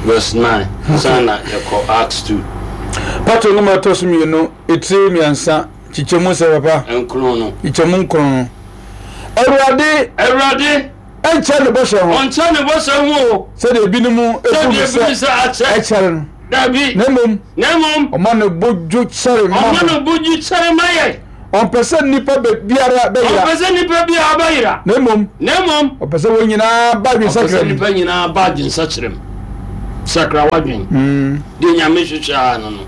A: verse nine. Sana yɛkɔ Acts two.
B: Petro nwoma ɛtɔ so mmienu, etire mmiɛnsa, kyekyɛmu sɛ papa.
A: Nkron no.
B: Kyekyɛmu nkron no. Awurade.
A: Awurade.
B: Ɛnkyɛ ne bɔhyɛ ho.
A: Ɔnkyɛ ne bɔhyɛ ho o.
B: Sɛdeɛ ebinom ebu no sɛ ɛkyɛre no.
A: Dabi.
B: Na mmom.
A: Na mmom.
B: Ɔma ne bo dwo kyɛre ma.
A: Ɔma ne bo dwo kyɛre ma yɛ.
B: Ɔmpɛ sɛ nnipa biara bɛyera.
A: Ɔmpɛ sɛ nnipa biara bɛyera.
B: Na mmom.
A: Na mmom.
B: Ɔpɛ sɛ wɔn nyinaa ba adwensakyera mu.
A: Ɔpɛ sɛ nnipa nyinaa ba adwensakyera mu. Sakra w'adwen.
B: Mm.
A: Deɛ Nyame hwehwɛ ara no no.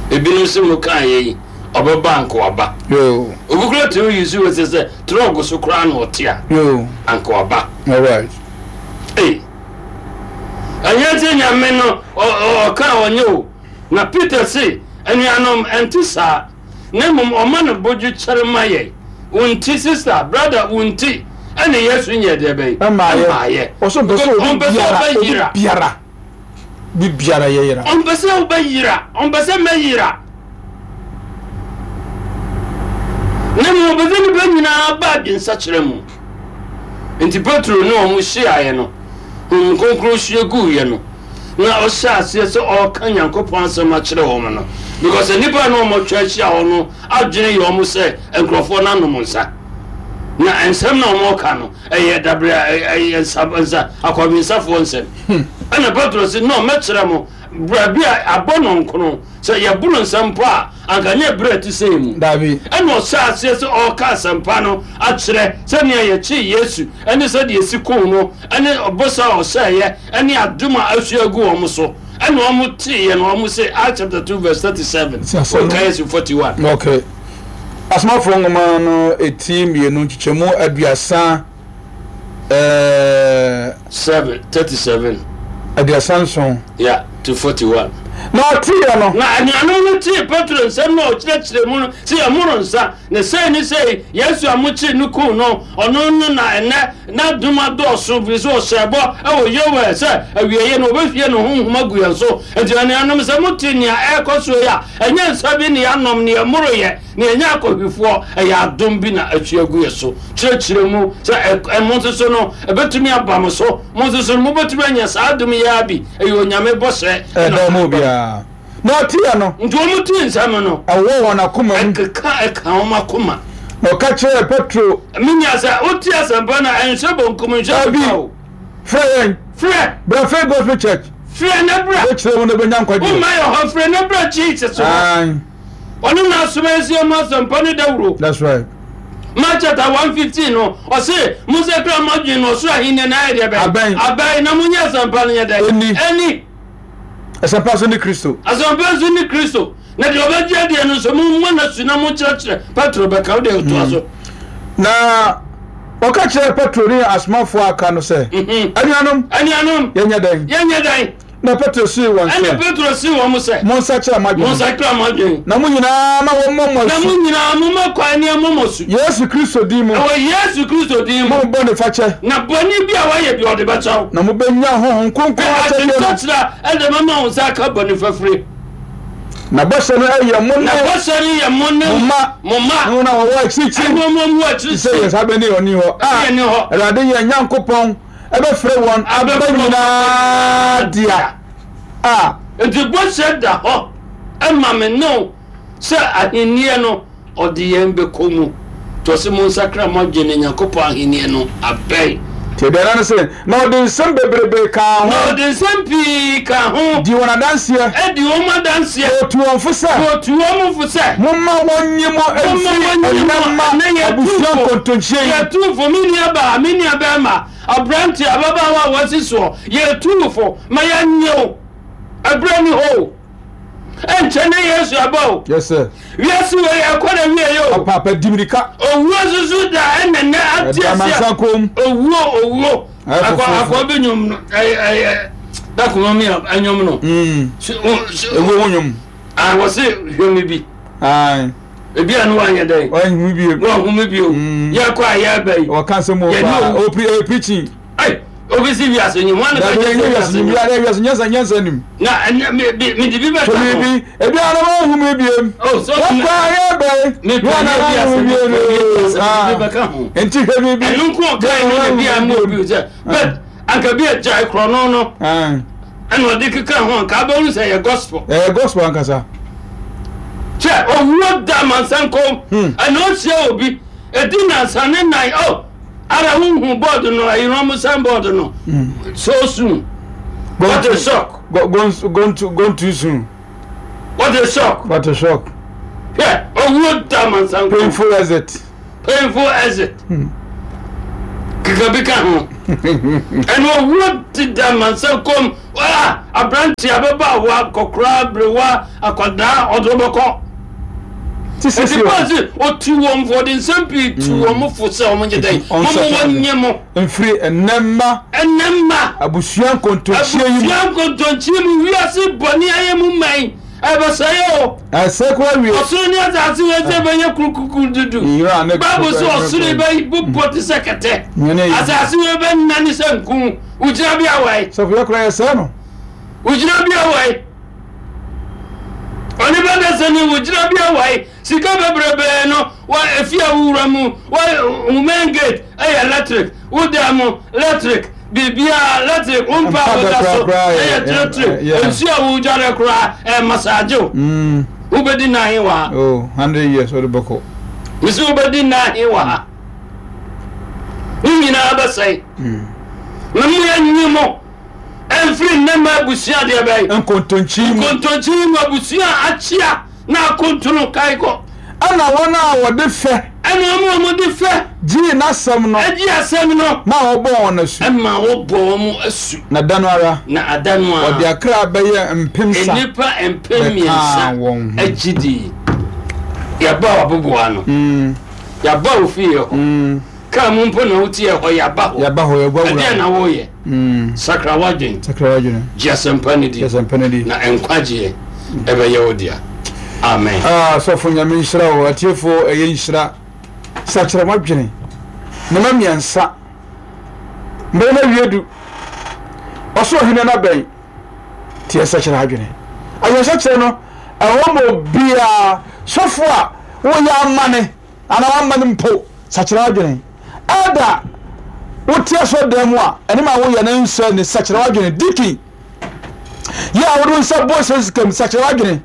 A: Ebinom se mo kaa yɛ yi, ɔbɛba anka waba.
B: Yo.
A: Obi koraa tumi yi so wɔ sɛ sɛ trɔg so koraa na ɔte a.
B: Yo.
A: Anka waba.
B: All right.
A: Ei. Ɛnyɛ sɛ Nyame no ɔka ɔnyɛ o. Na Peter se, anuanom, ɛnte saa. Na mmom ɔma no bodwo kyɛre ma yɛn. Wo nti, sister, brother, wo nti, ɛna Yesu nyɛɛ deɛ bɛn?
B: Ɛmmaayɛ. Ɔsɛ ɔmpɛ sɛ obi biara, obi biara, obi biara yɛyera.
A: Ɔmpɛ sɛ wobɛyera, ɔmpɛ sɛ mɛyera. Na mmom ɔpɛ sɛ nnipa nyinaa ba adwensakyera mu. Nti Petro ne wɔn hyiaeɛ no, Honhom Kronkron hwie guiɛ no, na ɔhyɛ aseɛ sɛ ɔreka Nyankopɔn asɛm akyerɛ wɔn no, because nnipa a na wɔatwa ahyia hɔ no adwene yɛ wɔn sɛ nkurɔfoɔ no anom nsa, na nsɛm na wɔreka no ɛyɛ dabrɛ ɛyɛ nsa nsa akɔwensafoɔ nsɛm. Ɛna Petro se, no, mɛkyerɛ mo baabi a abɔ nɔnkono, sɛ yɛboro nsa mpo a, anka nyɛ berɛ a ɛte sɛi mu.
B: Dabi.
A: Ɛna ɔhyɛɛ aseɛ sɛ ɔreka asɛmpa no akyerɛ, sɛnea yɛkyee Yesu, ne sɛdeɛ yɛsi kuu no, ne bɔhyɛ a ɔhyɛeɛ, ne adom a ahwie agu wɔn so. Ɛna wɔn teeɛ no, wɔn se, Acts chapter two verse thirty seven, wɔnka Yesu forty one.
B: Okay. Asomafoɔ nwoma no eti mmienu nkyekyɛmu aduasa ɛɛ.
A: Seven, thirty seven.
B: Aduasa nson.
A: Yeah, to forty one.
B: Na ɔteeɛ no.
A: Na anuanom no tee Petro nsɛm no a ɔkyerɛkyerɛ mu no sɛ yɛmmoro nsa, na sei ne sei, Yesu a mokyeree no kum no, ɔno no na ɛnnɛ n'adom adɔɔso, ɛfiri sɛ ɔhyɛɛ bɔ wɔ Yoel sɛ awieeɛ no wɔbɛhwie ne honhom agu yɛn so. Enti anuanom, sɛ mote nea ɛrekɔ soɔ yi a, ɛnyɛ nsa bi na yɛanom, na yɛmmoroeɛ, na yɛnyɛ akɔhwifoɔ, ɛyɛ adom bi na ahwie agu yɛn so. Kyerɛkyerɛ mu sɛ ɛ, mo nso so no, ɛbɛtumi aba mo so. Mo nso so no, mobɛtumi anya saa adom yi ara bi. Ɛyɛ Onyame bɔhyɛ.
B: Ɛda mu obiara. Na ɔteɛ no.
A: Nti wɔn tee nsɛm no.
B: Ɛwɔ wɔn akoma mu.
A: Ɛkeka ɛka wɔn akoma.
B: Na ɔka kyerɛɛ Petro.
A: Me nua, sɛ wote asɛmpa no a, ɛnhyɛ bonkum, nhyɛ nifa o.
B: Frɛ yɛn.
A: Frɛ.
B: Bra Faith Gospel Church.
A: Frɛ na bra.
B: Bɛkyerɛ mu na bɛnya nkwagyeɛ.
A: Womma yɛ hɔ, frɛ na bra Jesus hɔ. Ɔno na asoma yɛn sɛ yɛmmɔ asɛmpa no dawuro.
B: That's right.
A: Mark chapter one fifteen no, ɔse, Monsakra mo adwene na ɔsoro ahenni no ayɛ deɛ bɛn?
B: Abɛn.
A: Abɛn, na monyɛ asɛmpa no nyɛ dɛn?
B: Ɛni.
A: Ɛni.
B: Asɛmpa nso ne Kristo.
A: Asɛmpa nso ne Kristo. Na deɛ ɔbɛgye adeɛ no nso, mommɔ no asu na monkyerɛkyerɛ. Petro bɛka, wo deɛ toa so.
B: Na ɔka kyerɛɛ Petro ne asomafoɔ a aka no sɛ,
A: Mhm.
B: Anuanom,
A: Anuanom,
B: yɛnyɛ dɛn?
A: yɛnyɛ dɛn?
B: Na Petro see wɔn sɛ.
A: Ɛnna Petro see wɔn sɛ.
B: Monsakyera mo adwene.
A: Monsakyera mo adwene.
B: Na mo nyinaa ma wɔmmɔ mo asu.
A: Na mo nyinaa momma kwan ne ɛmmɔ mo asu.
B: Yesu Kristo din mu.
A: Ɛwɔ Yesu Kristo din mu.
B: Mo bɔne fakyɛ.
A: Na bɔne bi a woayɛ bi ɔde bɛkyɛ wo.
B: Na mobɛnya Honhom Kronkron akyɛdeɛ no.
A: Adwensakyera ɛde bɛma wo nsa aka bɔne fafire.
B: Na bɔhyɛ no yɛ mo ne.
A: Na bɔhyɛ no yɛ mo ne.
B: Mo mma.
A: Mo mma.
B: Ne wɔn a wɔwɔ akyirikyiri.
A: Ɛne wɔn a wɔwɔ akyirikyiri.
B: Sɛ yɛn saa bɛ ne ɔni hɔ.
A: A yɛn ni hɔ.
B: Awurade yɛn Nyankopɔn. Ɛbɛfrɛ wɔn aba nyinaa dea a.
A: Enti bɔhyɛ da hɔ ma me ne wo sɛ ahennie no ɔde yɛn bɛkɔ mu. Nti ɔse monsakra mo adwene na Nyankopɔn ahennie no abɛn.
B: Nti aduanan no se, na ɔde nsɛm bebrebe kaa ho.
A: Na ɔde nsɛm pii kaa ho.
B: Dii wɔn adanseɛ.
A: Dii wɔn adanseɛ.
B: Na ɔtuu wɔn fo sɛ.
A: Na ɔtuu wɔn fo sɛ.
B: Momma wɔnyi mo mfiri ɛnnɛ mma abusua nkontonkyie yi.
A: Yɛtuu fo, me nuabaa, me nuabarima, aberanteɛ, ababaawa a wasi soɔ, yɛtuu fo ma yɛnnye wo. Ɛberɛ nni hɔ o. Ɛnkyɛ na Yesu aba o.
B: Yes sir.
A: Wiase wei ɛkɔ na wie o.
B: Paapa di mirika.
A: Owuo nso da ɛna nɛ ate
B: Ɛda amansan kom.
A: Owuo owuo.
B: Ayɛ
A: Akɔ
B: foforɔ.
A: akɔ bi nwom no ɛyɛ ɛyɛ dakoma mi a ɛnwom no.
B: Mm.
A: So- o- so-
B: Ewuo ho nwom.
A: Ah, wɔse hwɛ me bi.
B: Aye.
A: Ebi a no wanyɛ dɛn.
B: Wanhu bio.
A: Wanhu me bio.
B: Mm.
A: Yɛkɔ a yɛba yi.
B: Wɔka asɛm wɔ
A: Yɛne
B: paa.
A: owu.
B: O pre eh, preaching.
A: Ai, obi si wiase nyim. Wɔn na
B: Dabi
A: bɛgye
B: ɛnyɛ
A: sɛ
B: wiase
A: wiase
B: nyim.
A: nyim.
B: Wiase wiase nyansa nyansa nim.
A: Na ɛnyɛ me bi me de bi bɛka
B: So
A: ho.
B: biribi ebi a na wanhu me biem.
A: Oh, so
B: Wɔkɔ a yɛba yi.
A: Me pɛ
B: Wɔn na
A: nyɛ
B: wanhu
A: wiase
B: me
A: me
B: biem.
A: pɛ nyɛ wiase me de bi
B: Ah.
A: bɛka ho.
B: Nti hwɛ biribi.
A: Ɛno nko ɔkae no na bi a ma obi sɛ but anka bi agyae korɔno no
B: Aye.
A: ɛna ɔde keka ho anka abɛhu sɛ ɛyɛ gospel.
B: Ɛyɛ gospel ankasa.
A: Kyɛ owuo da amansan kɔn
B: Hmm.
A: ɛna ɔhyia obi ɛdi nansa ne nan oh ara wohu board no ɛyerɛ mo sign board no so soon.
B: Gone
A: What a
B: too-
A: shock.
B: Go, gone, gone, too, gone too soon.
A: What a shock.
B: What a shock.
A: Hwɛ Owuo da amansan kɔn.
B: Painful exit.
A: Painful exit. Keka bi ka ho. Ɛna owuo deda amansan kɔn. Ah, aberante, ababaawa, akɔkora, aberewa, akwadaa, ɔde wobɛkɔ.
B: Ti
A: Nti
B: sisi
A: Paul se ɔtu wɔn fo, ɔde nsɛm pii tu wɔn fo sɛ wɔn nyɛ dɛn?
B: Ɔnsɛ
A: Wɔn
B: sɛ
A: wɔnyɛ mo.
B: Mfiri ɛnɛ mma.
A: Ɛnɛ mma.
B: Abusua nkontonkyie yi mu.
A: Abusua nkontonkyi mu, wiase bɔne ayɛ mu man, ɛbɛsɛe o.
B: Ɛsɛ kora wie.
A: Ɔsoro ne asase wɔ sɛ bɛyɛ kurukuku dudu.
B: Nwura ne
A: Bible sɛ ɔsoro bɛ bobɔ te sɛ kɛtɛ.
B: Nyane yi.
A: Asase wɔ bɛnane sɛ nku. Wogyina bi awae.
B: Sɔfo, yɛ kora yɛsɛe no.
A: Wogyina bi awae. Ɔne bɛda sɛ ne wogyina bi awae. Sika bebrebee no wa efi a wowura mu wa wo main gate ɛyɛ electric, wo dan mu electric, biribiara electric, wo mpa a woda so
B: koraa yɛ-
A: ɛyɛ electric,
B: yeah.
A: nsuo a wodware koraa ɛyɛ massage o.
B: Mm.
A: Wobɛdi nnan wɔ ha?
B: Oh, hundred years ɔde bɛkɔ.
A: Mesi wobɛdi nnan wɔ ha? Ne nyinaa bɛsɛe. Na mo yɛnyi mo ɛmfiri nnɛma abusua deɛ bɛyɛ
B: nkontonkyi mu.
A: Nkontonkyi mu, abusua akyea na akontono kae kɔ.
B: Ɛna wɔn a wɔde fɛ
A: Ɛna ɔmo a wɔde fɛ
B: gyee n'asɛm no
A: agye asɛm no
B: ma wɔbɔɔ wɔn asu.
A: Ɛma wɔbɔ wɔn asu.
B: Na da no ara
A: Na ada no
B: wɔde
A: a
B: akra bɛyɛ mpemsa
A: nnipa mpem
B: bɛkaa
A: mmiɛnsa
B: wɔn ho.
A: agye di. Yɛba waboboa no,
B: Mm,
A: yɛaba wo fie hɔ,
B: mm.
A: kaa mu mpo na wotie hɔ, yɛaba hɔ.
B: Yɛba hɔ, yɛbɔ
A: Ɛdeɛ
B: wura.
A: na woyɛ?
B: Mm.
A: Sakra w'adwen.
B: Sakra w'adwene.
A: Gye asɛmpa no di.
B: Gye asɛmpa no di.
A: Na nkwagyeɛ ɛbɛyɛ wo dea. Amen.
B: Ah, sɔfo, Nyame nhyira wo. Atiefoɔ, ɛyɛ nhyira. Sakyerɛ w'adwene. Nneɛma mmiɛnsa. Mbɛrɛ no awie du. Ɔsoro hene no abɛn. Tiɛ, sakyerɛ adwene. Adwensakyerɛ no, ɛwɔ ma obiara. Sɔfo a woyɛ amane anaa wamane mpo, sakyerɛ adwene. Ɛda wote asɔredan mu a, ɛne ma woyɛ no nsɛ ne sakyerɛ w'adwene. Deacon, yɛ a wode wo nsa bɔ sɛ sikam, sakyerɛ w'adwene.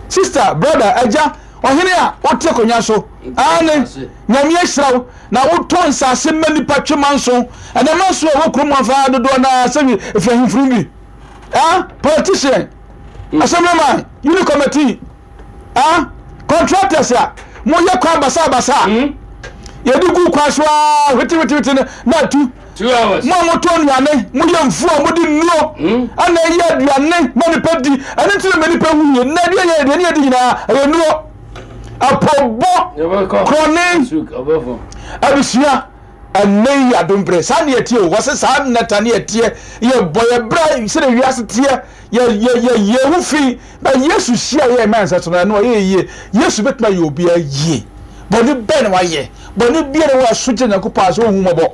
B: Sister, brother, agya, ɔhene a wote akonnwa so, ane Nyame ahyira wo na wotɔ nsase ma nipa twe manso, ɛnɛ manso a ɛwɔ kurom afa dodoɔ naa sɛ ɛfiri ahemfiri bi, ah, politician, assemblyman, unit committee, ah, contractors a moyɛ kwan basabasa a
A: Hmm?
B: yɛde gu kwan so a hwetewetewete no na atu.
A: Two hours.
B: Mo a motɔ nnuane, moyɛ mfuo a mode nnuro
A: Hmm?
B: ana ɛyɛ aduane ma nipa di, ɛno nti na ma nipa wu yie. Na aduane yɛ aduane yɛdi nyinaa ɛyɛ nnuro apɔbɔ.
A: Yɛbɛkɔ.
B: Korɔne.
A: Suk ɔbɛfo.
B: Abusua, ɛnɛ yi adombrɛ saa ne yɛteɛ o. Wɔsɛ saa nnɛta ne yɛteɛ, yɛbɔ yɛ brɛ sɛdeɛ wiase teɛ, yɛ yɛ yɛ yɛ ho fi na Yesu hyia yɛ mɛn sɛ so no, ɛno ɔyɛ yie. Yesu bɛtumi ayɛ obiara yie. Bɔne bɛn na wayɛ? Bɔne biara wɔ aso gyina Nyankopɔn a sɛ ɔhu mmɔbɔ,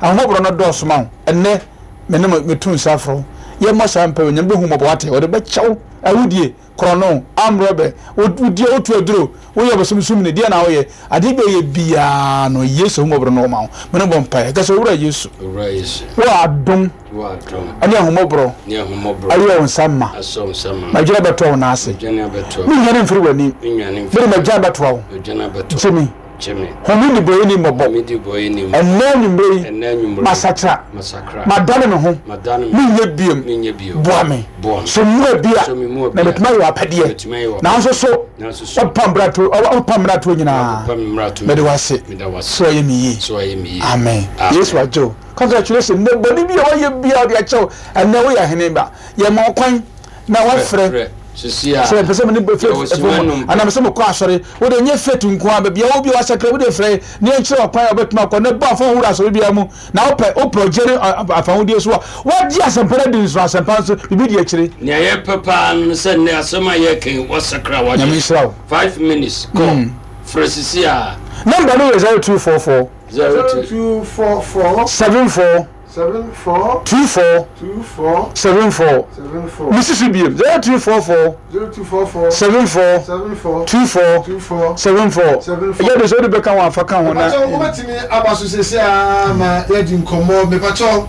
B: ahoɔborɔ no dɔɔso ma wo. Ɛnɛ me ne mo metu nsa afrɛ wo, yɛmmɔ saa mpa. Nyame bɛhu mmɔbɔ, wate, ɔde bɛkyɛw. Awudie, korɔno, amrɔbɛ, wodie, wotu aduro, woyɛ bosomsom ne deɛ na woyɛ adeɛ bi a ɔyɛ biara no, Yesu ahummɔborɔ no ɔma wo. Mene bɔ mpaeɛ ka sɛ, Owura Yesu,
A: Owura Yesu,
B: wo adom
A: wo adom
B: ɛne ahummɔborɔ
A: ne ahummɔborɔ
B: ayɛ wo nsa ma.
A: Asɔ wo nsa ma.
B: Madwene bɛtɔ wo nan ase.
A: Dwane abɛto.
B: Menhwane mfiri w'anim.
A: Menwane.
B: Mede magyan bɛtoa wo.
A: Dwane abɛto.
B: Gye me.
A: Gye me.
B: Home nnebɔyɛni mmɔbɔ.
A: Medi bɔyɛ nim.
B: Ɛnnɛ anwummerɛ yi,
A: Ɛnnɛ anwummerɛ,
B: masakra.
A: Masakra.
B: Madane me ho.
A: Madane me.
B: Menyɛ biom.
A: Menyɛ bio.
B: Boa me.
A: Boa me.
B: So mmoa bi a
A: So me mmoa
B: na
A: bi a
B: metumi ayɛ w'apɛdeɛ.
A: Metumi ayɛ w'apɛdeɛ.
B: Nanso so
A: Nanso so
B: wopa mmarato, wopa mmaratoɔ nyinaa.
A: Wopa me mmarato.
B: Mede w'ase.
A: Meda w'ase.
B: So ɔyɛ me yie.
A: So ayɛ me yie.
B: Amen.
A: Amen.
B: Yesu agye wo. Congratulation. Nnɛ bɔne bi a wɔyɛ bia ɔde akyɛw. Ɛnnɛ woyɛ ahene ba. Yɛma wo kwan na wafrɛ.
A: Frɛ. Sisi a
B: sɛ pɛ sɛ mene
A: Yɛwɔ sima num.
B: anam sɛ mekɔ asɔre, wode nyɛ faith nko a, baabi a wo bi a wasakra, wode frɛ ne yɛnkyerɛ ɔkwan a wobɛtumi akɔ ne bɔ afa wura asɔre biara mu. Na wopɛ wopɛ ɔgye ne afahodie so a woagye asɛmpa no adi nso, asɛmpa nso biribi di akyire.
A: Nea yɛpɛ paa no sɛ nnɛ asɛm a yɛka, wɔsakra
B: Nyame
A: wagye.
B: nhyira wo.
A: Five minutes kɔ, frɛ sisi a.
B: Number no yɛ zero two four four
A: zero
C: Zero
A: two
C: two four four
B: seven four
C: seven four
B: two four
C: two four
B: seven four.
C: seven four.
B: Mesisi biem, zero two four four
C: Zero two four four
B: seven four
C: seven four
B: two four
C: two four
B: seven four.
C: seven four.
B: Ɛyɛ de sɛ wode bɛka ho afa ka ho na
C: Mepakyɛw, wobɛtumi aba so sese a ma yɛdi nkɔmmɔ. Mepakyɛw,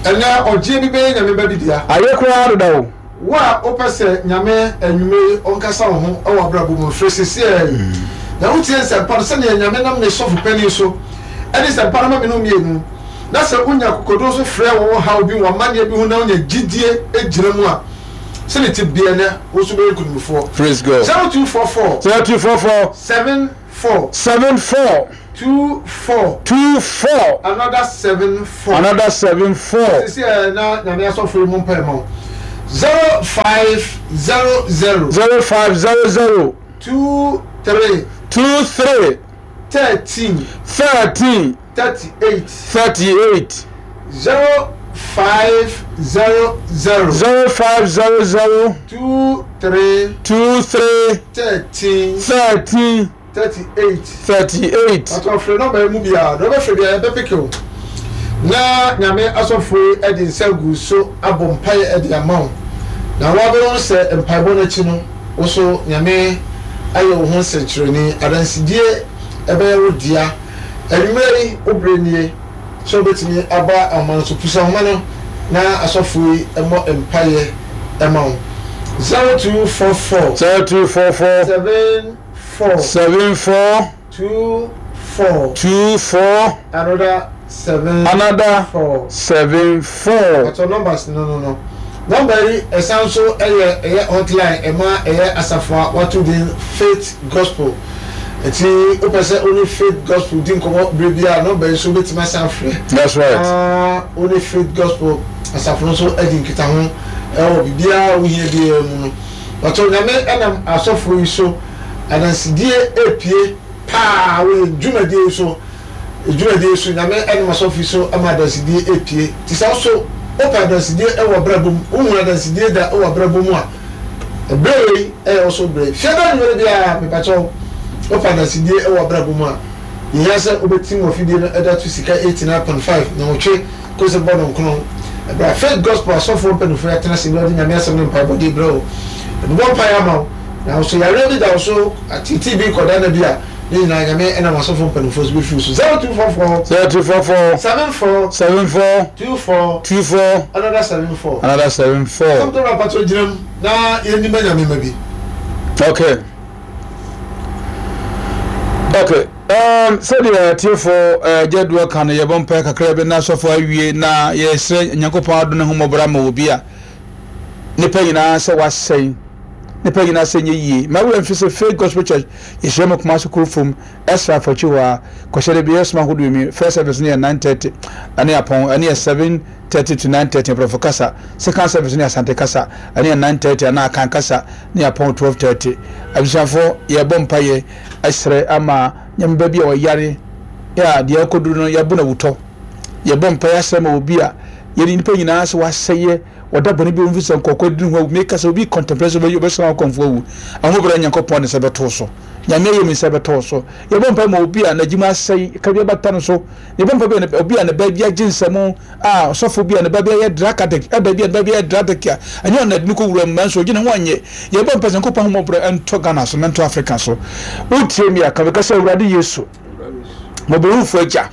C: ɛnɛ ɔgye bi bɛyɛ Nyame ba bi dea.
B: Ayɛ koraa deda o.
C: Wo a wopɛ sɛ Nyame anwummere yi ɔnkasa wo ho wɔ abrabɔ mu, frɛ sese a yi na wotie nsɛmpa no sɛnea Nyame nam ne sɔfo panin so ɛne nsɛmpa no ma me no mmienu. Na sɛ wonya akokoduro so frɛ wɔ wo haw bi, wɔ amanneɛ bi ho, na wonya gyidie gyina mu a Sɛne ti bia nɛ wo so bɛyɛ nkonimfoɔ.
B: Praise God.
C: zero two four four
B: zero two four four
C: seven four
B: seven four
C: two four
B: two four
C: another seven four.
B: another seven four
C: Sisi ɛ na Nyame asɔfo yi mu mpae ma wo. zero five zero zero
B: zero five zero zero
C: two three
B: two three
C: thirteen
B: thirteen
C: thirty eight
B: thirty eight
C: zero five zero zero
B: zero five zero zero
C: two three
B: two three
C: thirteen
B: thirteen
C: thirty eight.
B: thirty eight.
C: Atɔfrɛ nɔmba yi mu biara deɛ ɔbɛfrɛ biara yɛbɛpeke o, na Nyame asɔfo yi de nsa gu so abɔ mpaeɛ de ama wo, na woabɛhu sɛ mpaebɔ no akyi no wo so Nyame ayɛ wo ho nsɛnkyerɛnne. Adansedie ɛbɛyɛ wo dea. Anwummerɛ yi wo berɛ nie sɛ wobɛtumi aba ahoma no so. Pusa ahoma no na asɔfo yi mmɔ mpaeɛ ɛma wo. zero two four four
B: zero two four four
C: seven four
B: seven four
C: two four
B: two four
C: another seven
B: another
C: four.
B: seven four.
C: Àtọ numbers no no no number yi ɛsan so ɛyɛ ɛyɛ hotline ɛma ɛyɛ asafo a wato din Faith Gospel. Nti wopɛ sɛ wone Faith Gospel di nkɔmɔ bere bi a, number yi so wobɛtumi asan frɛ
B: That's right.
C: na wone Faith Gospel asafo no nso adi nkitaho ɛwɔ biribiara a wohia biara mu no. Wɔtɔ Nyame ɛnam asɔfo yi so adansidie epie paa wɔyɛ dwumadie yi so, dwumadie so Nyame ɛnam asɔfo yi so ama adansidie epie. Te sɛ nso wopɛ adansidie ɛwɔ abrabɔ mu, wohun adansidie da ɛwɔ abrabɔ mu a, ɛbrɛ wei ɛyɛ ɔso brɛ fiada nwere biara. Mepakyɛw, wopɛ adansidie ɛwɔ abrabɔ mu a, yɛhia sɛ wobɛtim wɔ fidie no ɛda to Sika eighty nine point five na wɔtwe kɔsɛ bɔ no nkono ɛbrɛ a Faith Gospel asɔfoɔ mpanimfoɔ yɛatena ase ne ɔde Nyame asɛm ne mpaebɔde brɛ wo, ɛbobɔ mpaeɛ ama wo. Na nso yareɛ bi da wo so, atete bi kɔda na bi a, ne nyinaa Nyame ɛnam asɔfoɔ mpanimfoɔ so bɛfiri so. zero two four four
B: zero two four four
C: seven four
B: seven four
C: two four
B: two four
C: another seven four.
B: another seven four.
C: Sɔm tó rapatɔ gyina mu na yɛn nim Nyame ma bi.
B: Okay. Okay. Um, sɛdeɛ atiefoɔ uh, gyadoɔ ka no, yɛbɔ mpae kakra bi na asɔfo awie na yɛsrɛ Nyankopɔn adom ne homɔborɔ ama obi a nipa nyinaa sɛ wasɛe, nipa nyinaa sɛ nyɛ yie. Ma wura mfi sɛ Faith Gospel Church yɛhyia mu Kumase kuro fam ɛsra afakyi hɔ a kɔhyɛ de bi yɛsoma ahodoɔ mi. First service no yɛ nine thirty ɛne apɔn, ɛne yɛ seven thirty to nine thirty Aborɔfo kasa. Second service no yɛ Asante kasa, ɛne yɛ nine thirty anaa Akan kasa, ne yɛ apɔn twelve thirty. Abusuafoɔ, yɛbɔ mpayɛ ɛsrɛ ama Nyame ba bi a ɔyare yɛ a deɛ ɛkɔduru no yɛabo no awutɔ. Yɛbɔ mpayɛ asrɛ ma obi a yɛde nipa nyinaa sɛ wasɛyɛ, wɔda bɔne bi wɔmfi sɛ nkɔkɔ di ho awu. Meka sɛ obi contemplate sɛ ɔbɛsra wo kɔmfo awu, ahobra Nyankopɔn ne sɛ bɛtoo so, Nyame ayɛ mi sɛ bɛtoo so. Yɛbɔ mpa ma obi a n'adwuma asɛe ka bi abata no so. Yɛbɔ mpa bi obi a ne ba bi agye nsɛm a, ɔsɔfo bi a ne ba bi ayɛ drug addict, ɛda bi a ne ba bi ayɛ drug addict a ɛnyɛ ɔna de no kɔ wura mu nanso ɔgyina ho anyɛ. Yɛbɔ mpa sɛ Nyankopɔn ahomɔborɔ ɛntɔ Ghana so na ɛntɔ Africa so. Wotie mi a, ka bɛka sɛ, "Awurade Yesu, mmɔborɔhufo agya,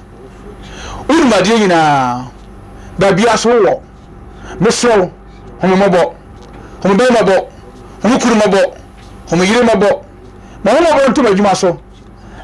B: wonim adeɛ nyinaa, baabia so wowɔ. Mesrɛ wo, home mmɔbɔ, home bɛyɛ mmɔbɔ, home kuru mmɔbɔ, home yere mmɔbɔ. Ma ho mmɔbɔ ntom adwuma so,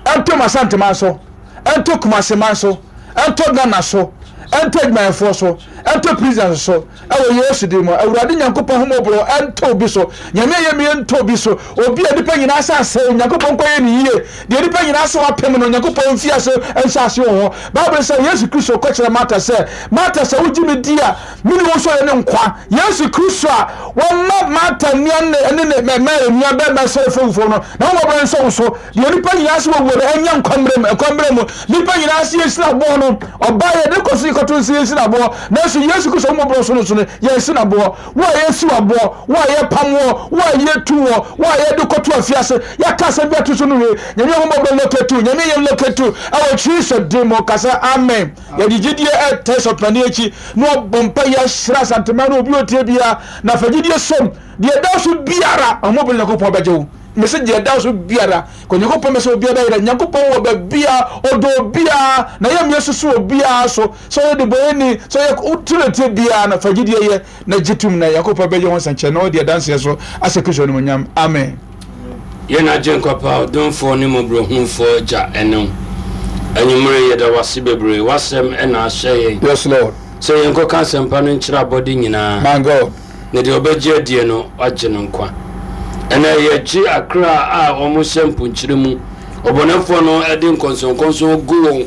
B: ɛntom Asanteman so, ɛnto Kumaseman so, ɛnto Ghana so, ɛnto adwumayɛfoɔ so, ɛnto prisons so, ɛwɔ Yesu din mu. Awurade Nyankopɔn ho mmɔborɔ ɛnto obi so. Nyame ayɛ mi ɛnto obi so. Obi a nipa nyinaa sɛ asɛ, Onyankopɔn nkɔyɛ ne yie. Deɛ nipa nyinaa sɛ wapem no, Onyankopɔn mfi ase nhyɛ ase wɔ hɔ. Bible sɛ Yesu Kristo kɔkyerɛ Marta sɛ, "Marta, sɛ wogye me di a, mene wo so yɛ ne nkwa." Yesu Kristo a wɔma Marta nua ne ne ne Mary nua bɛrima sɔre fam fam no, na wɔn nsɔ wo so. Deɛ nipa nyinaa sɛ wɔwuo no, ɛnyɛ nkwa mmerɛ mu, nkwa mmerɛ mu. Nipa nyinaa sɛ yɛsi aboɔ no, ɔbaa yɛ de kɔ so yɛkɔto nso yɛsi aboɔ, nanso Yesu Kristo wɔn so no so no yɛnsi naboɔ. Wo a yɛsi aboɔ, wo a yɛpam wɔ, wo a yɛtu wɔ, wo a yɛde kɔto afiase, yɛka asɛm bi ato so no wie, Nyame ahomɔborɔ locate, Nyame yɛm locate ɛwɔ Kristo din mu. Kasa amen. Yɛde gyidie ɛtɛ sɔpani akyi na ɔbɔ mpa yɛ ahyira Asanteman no. Obi otie biara na fa gyidie som deɛ ɛda so biara, ahomɔborɔ Nyankopɔn bɛgye wo. Mese deɛ ɛda so biara kɔ Nyankopɔn bɛ sɛ obiara bɛyerɛ. Nyankopɔn wɔ baabia, ɔdɔ obiara na yɛ mmea susu obiara so sɛ ɔyɛ debɔyɛni, sɛ ɔyɛ wotiretie biara no, fa gyidie yɛ na gye tum na Nyankopɔn bɛgye ho nsɛnkyerɛ na ɔde adanseɛ so asɛ Kristo animonyam. Amen.
A: Yɛn agye nkwapa, ɔdomfoɔ ne mmɔborɔhunufoɔ Agya, ɛne wo anwummere yɛda wase bebree. W'asɛm ɛna ahyɛ yɛn
B: Yes, Lord.
A: sɛ yɛnkɔka asɛmpa no nkyerɛ abɔde nyinaa.
B: My God.
A: Na Na deɛ ɔbɛgye adie no, wagye no nkwa. Ɛnɛ yɛgye akra a wɔn hyɛ mponkyerɛ mu. Ɔbɔnefoɔ no de nkɔnsɔnkɔnsɔn gu wɔn,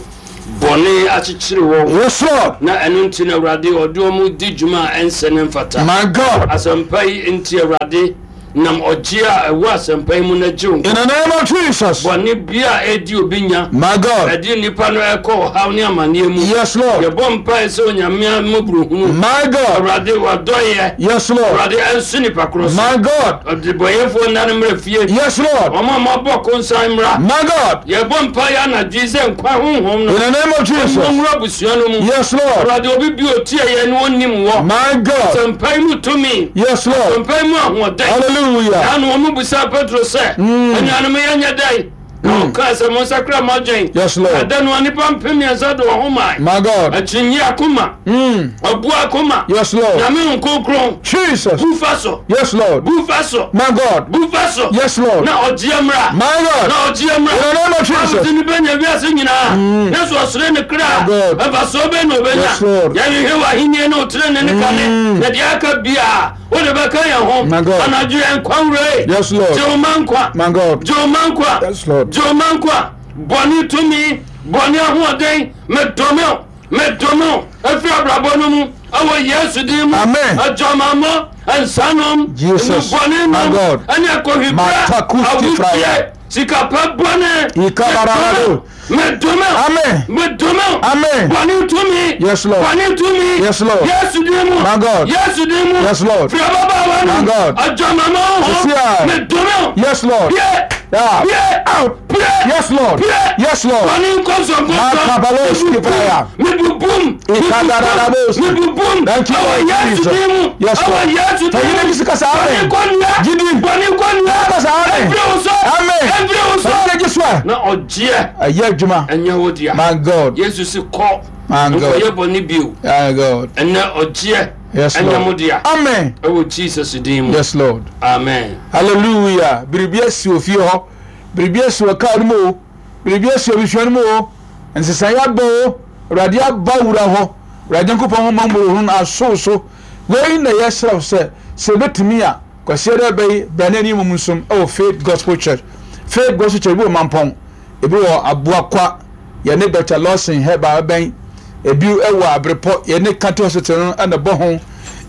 A: bɔne akyekyere wɔn.
B: Yes, Lord.
A: Na ɛno nti na Awurade ɔde wɔn di dwuma a ɛnsɛ ne mfata.
B: My God.
A: Asɛmpa yi nti, Awurade, nam ɔgye a ɛwɔ asɛmpa yi mu na gye wo
B: In the name of Jesus.
A: Bɔne bi a ɛdi obi nya,
B: My God.
A: ɛde nnipa no ɛkɔ ɔhaw ne amanneɛ mu.
B: Yes, Lord.
A: Yɛbɔ mpae sɛ Onyame mmɔborɔhunu,
B: My God.
A: Awurade, wadɔyɛ,
B: Yes, Lord.
A: Awurade, ɛnso nipa korɔ so.
B: My God.
A: Ɔdebɔyɛfoɔ nna no mmerɛ fie.
B: Yes, Lord.
A: Ɔma mabɔ konsan mmra.
B: My God.
A: Yɛbɔ mpae anadwo yi sɛ nkwa honhom no
B: In the name of Jesus.
A: mmɔnwura abusua no mu.
B: Yes, Lord.
A: Awurade, obi bi otie yɛn no ɔnnim wɔ
B: My God.
A: asɛmpa yi mu tumi,
B: Yes, Lord.
A: asɛmpa yi mu ahoɔden.
B: Hallelujah.
A: Na wɔn busa Petro sɛ, anuanom, yɛnyɛ dɛn? Na ɔkaa sɛ, monsakra mo adwen.
B: Yes, Lord.
A: Ɛda no a nnipa mpem mmiɛnsa de wɔn ho mae.
B: My God.
A: Akyinnye akoma,
B: Mm.
A: ɔboa akoma,
B: Yes, Lord.
A: Nyame Nkronkron
B: Jesus.
A: bu fa so,
B: Yes, Lord.
A: bu fa so,
B: My God.
A: bu fa so.
B: Yes, Lord.
A: Na ɔgyeɛ mmra.
B: My God.
A: Na ɔgyeɛ mmra.
B: In the name of Jesus.
A: Bible sɛ nipa nya wiase nyinaa na so ɔsere ne kra,
B: My God.
A: ɛmfasoɔ bɛn na ɔbɛnya?
B: Yes, Lord.
A: Yɛhwehwɛ w'ahenni ne wo tenenee ne kane, na deɛ aka biaa wode bɛka yɛn ho.
B: My God.
A: Anadwo yɛn nkwa wura,
B: Yes, Lord.
A: gye wo ma nkwa.
B: My God.
A: Gye wo ma nkwa.
B: Yes, Lord.
A: Gye wo ma nkwa. Bɔne tumi, bɔne ahoɔden, medome wo, medome wo ɛfiri abrabɔ no mu ɛwɔ Yesu din mu.
B: Amen.
A: Adwamammɔ, nsanom,
B: Jesus.
A: nnubɔne
B: My
A: nom,
B: God.
A: ɛne akɔhwibra,
B: Matakusti fraya.
A: awudie, sikapɛ bɔne,
B: Ikabarabado.
A: medome wo,
B: Amen.
A: medome wo.
B: Amen.
A: Bɔne tumi,
B: Yes, Lord.
A: bɔne tumi,
B: Yes, Lord.
A: Yesu din mu.
B: My God.
A: Yesu din mu.
B: Yes, Lord.
A: Firi ababaawa no
B: My God.
A: adwamammɔ ho,
B: Sesia.
A: medome wo.
B: Yes, Lord.
A: Pie.
B: Yeah.
A: Pie.
B: Out.
A: Pie.
B: Yes, Lord.
A: Pie.
B: Yes, Lord.
A: Bɔne nkɔnsɔnkɔnsɔn.
B: Makabaloski fraya.
A: Mebubum.
B: Ikadarabos.
A: Mebubum.
B: Thank you,
A: Ɛwɔ
B: Lord
A: Yesu
B: Jesus.
A: din mu.
B: Yes,
A: Ɛwɔ
B: Lord.
A: Yesu din
B: Fa
A: mu.
B: yine bisi kasa, amen.
A: Bɔne kɔnnua.
B: Gidi.
A: Bɔne kɔnnua.
B: Kasa, amen.
A: Ɛmfiri wo so.
B: Amen.
A: Ɛmfiri wo so.
B: Fa yine so a.
A: Na ɔgyeɛ
B: Ɛyɛ adwuma.
A: ɛnyɛ wo dea.
B: My God.
A: Yesu si kɔ.
B: My God.
A: Nkɔyɛ bɔne bio.
B: My God.
A: Ɛnɛ ɔgyeɛ
B: Yes,
A: ɛnyɛ mo
B: Lord.
A: dea.
B: Amen.
A: Ɛwɔ Jesus din mu.
B: Yes, Lord.
A: Amen.
B: Hallelujah. Biribi asi wɔ fie hɔ. Biribi asi wɔ kaa no mu o. Biribi asi wɔ abusua no mu o. Nsesaeɛ aba o. Awurade aba wura hɔ. Awurade Nyankopɔn ho mmɔborɔhunu no asow so. Wei na yɛsrɛ wo sɛ sɛ ebɛtumi a, Kwasiada bɛyi bra na anim mu nsom ɛwɔ Faith Gospel Church. Faith Gospel Church ebi wɔ Mampɔn, ebi wɔ Aboakwa, yɛne Doctor Lawson Herbal bɛn, ebi wɔ Abrepɔ, yɛne County Hospital no ɛna bɔ ho,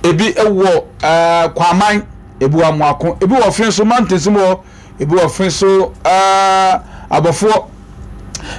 B: ebi wɔ ɛɛ Kwaman, ebi wɔ Amoako, ebi wɔ Ɔfin so mountains mu hɔ, ebi wɔ Ɔfin so ɛɛ Abɔfoɔ,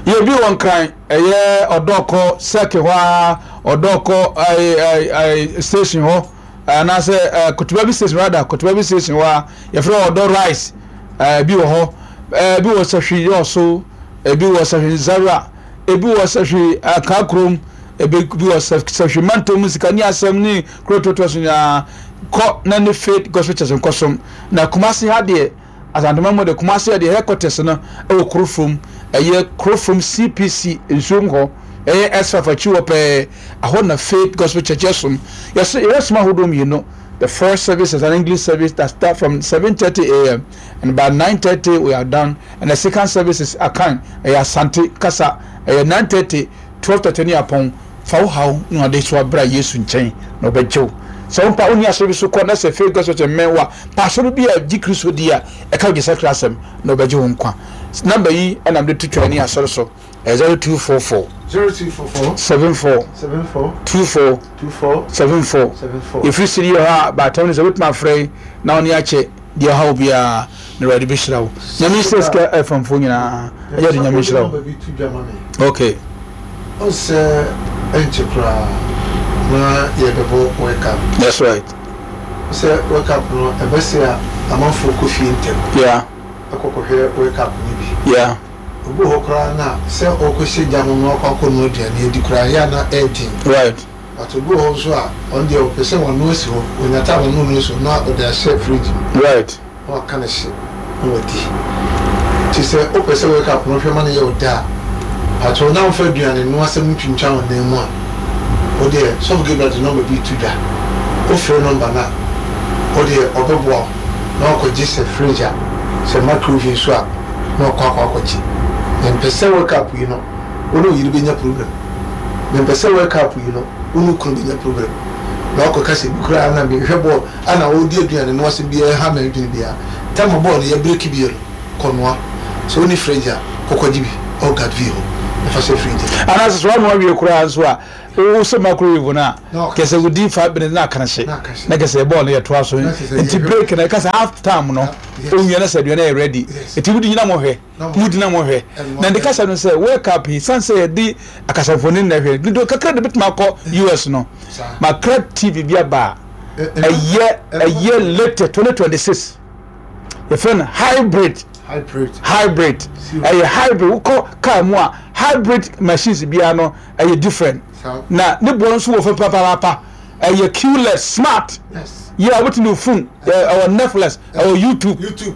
B: yɛ bi wɔ Nkran, ɛyɛ Ɔdɔkɔ sɛke hɔ a, Ɔdɔkɔ ɛɛ ɛɛ ɛɛ station hɔ, anaasɛ ɛɛ Kotobabi station rather, Kotobabi station hɔ a yɛfrɛ Ɔdɔ Rice, ɛɛ bi wɔ hɔ, ɛɛ bi wɔ Sahwi Yɔɔso, ebi wɔ Sahwi Zara, ebi wɔ Sahwi Akakurom, ebi bi wɔ Sahwi Mantom, Sikani Asɛm ne kuro totoa so nyinaa. Kɔ na ne Faith Gospel Church nkɔsom. Na Kumasi ha deɛ, Asantuma mu de, Kumasi ha deɛ, headquarters no ɛwɔ Kurofom, ɛyɛ Kurofom C P C nsuom hɔ, ɛyɛ S five akyi hɔ pɛɛ, ɛhɔ na Faith Gospel Church yɛsom. Yɛso yɛsom ahodoɔ mmienu. The first service is an English service that start from seven thirty a m and by nine thirty we are done, and the second service is Akan, ɛyɛ Asante kasa, ɛyɛ nine thirty, twelve thirty ne apɔn. Fa wo haw na ɔde so abra Yesu nkyɛn na ɔbɛgye wo. Sɛ wompa wonni asɔre bi so kɔ na sɛ Faith Gospel Church mmɛn wo a, pa asɔre bi a gye Kristo di a ɛka wo gye sakra asɛm na ɔbɛgye wo nkwa. Number yi ɛna mede to twa ne asɔre so, ɛyɛ zero two four four
C: zero two four four
B: seven four
C: seven four
B: two four
C: two four
B: seven four.
C: seven four.
B: Yɛfiri siri yɛ hɔ a baatam no sɛ wobɛtumi afrɛ yi na wo ne akyɛ deɛ ɔhaw biara na Awurade bɛhyira wo. Nyame nhyira Sika ɛfamfoɔ nyinaa. Ɛyɛ de, Nyame nhyira wo.
C: Bi to dwa ma me.
B: Okay.
C: Ɔsɛ ɛnkyɛ koraa na yɛbɛbɔ World Cup.
B: That's right.
C: Sɛ World Cup no ɛbɛsɛ a, amanfoɔ kɔ fie ntɛm
B: yeah
C: ɛkɔkɔhwɛ World Cup no bi.
B: Yeah
C: obi wɔ hɔ koraa na sɛ ɔkɔhyɛ gya ho na ɔkɔ akɔnoa aduane adi koraa yɛ a na ɛɛden.
B: Right
C: but obi wɔ hɔ nso a, ɔno deɛ ɔpɛ sɛ wano asi hɔ, onya time ɔno no asi hɔ na ɔde ahyɛ fridge mu
B: right
C: na waka ne hye na wadi. Nti sɛ wopɛ sɛ World Cup no hwɛ ma no yɛ wo da a, patro, na womfa aduane no asɛm ntwintwan wo nan mu a, wo deɛ Sɔfo Gabriel de number bi to dwa. Wofrɛ number no a, wo deɛ ɔbɛboa wo na wakɔgye sɛ fridge a, sɛ microwave nso a, na wakɔ akɔ akɔgye. Mempɛ sɛ World Cup yi no wo ne wo yere bɛnya problem. Mempɛ sɛ World Cup yi no wo ne wo kunu bɛnya problem. Na ɔkɔ kasa bi koraa na mehwɛ bɔɔl ana ɔdi aduane no asɛm biara ha ma adwene biara tama bɔɔl no yɛ break bi no kɔnoa sɛ wone fridge a, kɔkɔgye bi ɔwɔ Gadvi hɔ ɛfa hyɛ fridge.
B: Anaasɛ sɛ woanoa wie koraa nso a, wo sɛ microwave no a, kɛ sɛ wodi five minutes na aka hye na kɛ sɛ bɔɔl no yɛtoa so. Nti break no ɛka sɛ half time no, onwia no sɛ aduane yɛ ready, ɛti wodi nyina mohwɛ, mudi na mohwɛ. Na nde kasa no sɛ World Cup yi, san sɛ yɛde akasafoni na ɛhwɛ dodo kakra de bɛtumi akɔ U S no, makra T V bi aba a ɛyɛ ɛyɛ latest twenty twenty-six, yɛfrɛ no hybrid.
C: Hybrid.
B: Hybrid, ɛyɛ hybrid. Wokɔ car mu a, hybrid machines biara no ɛyɛ different na ne boɔ nso wɔ fam papaapa. Ɛyɛ Q L E D smart yɛ a wobɛtumi de phone, ɛwɔ Netflix, ɛwɔ YouTube.
C: YouTube,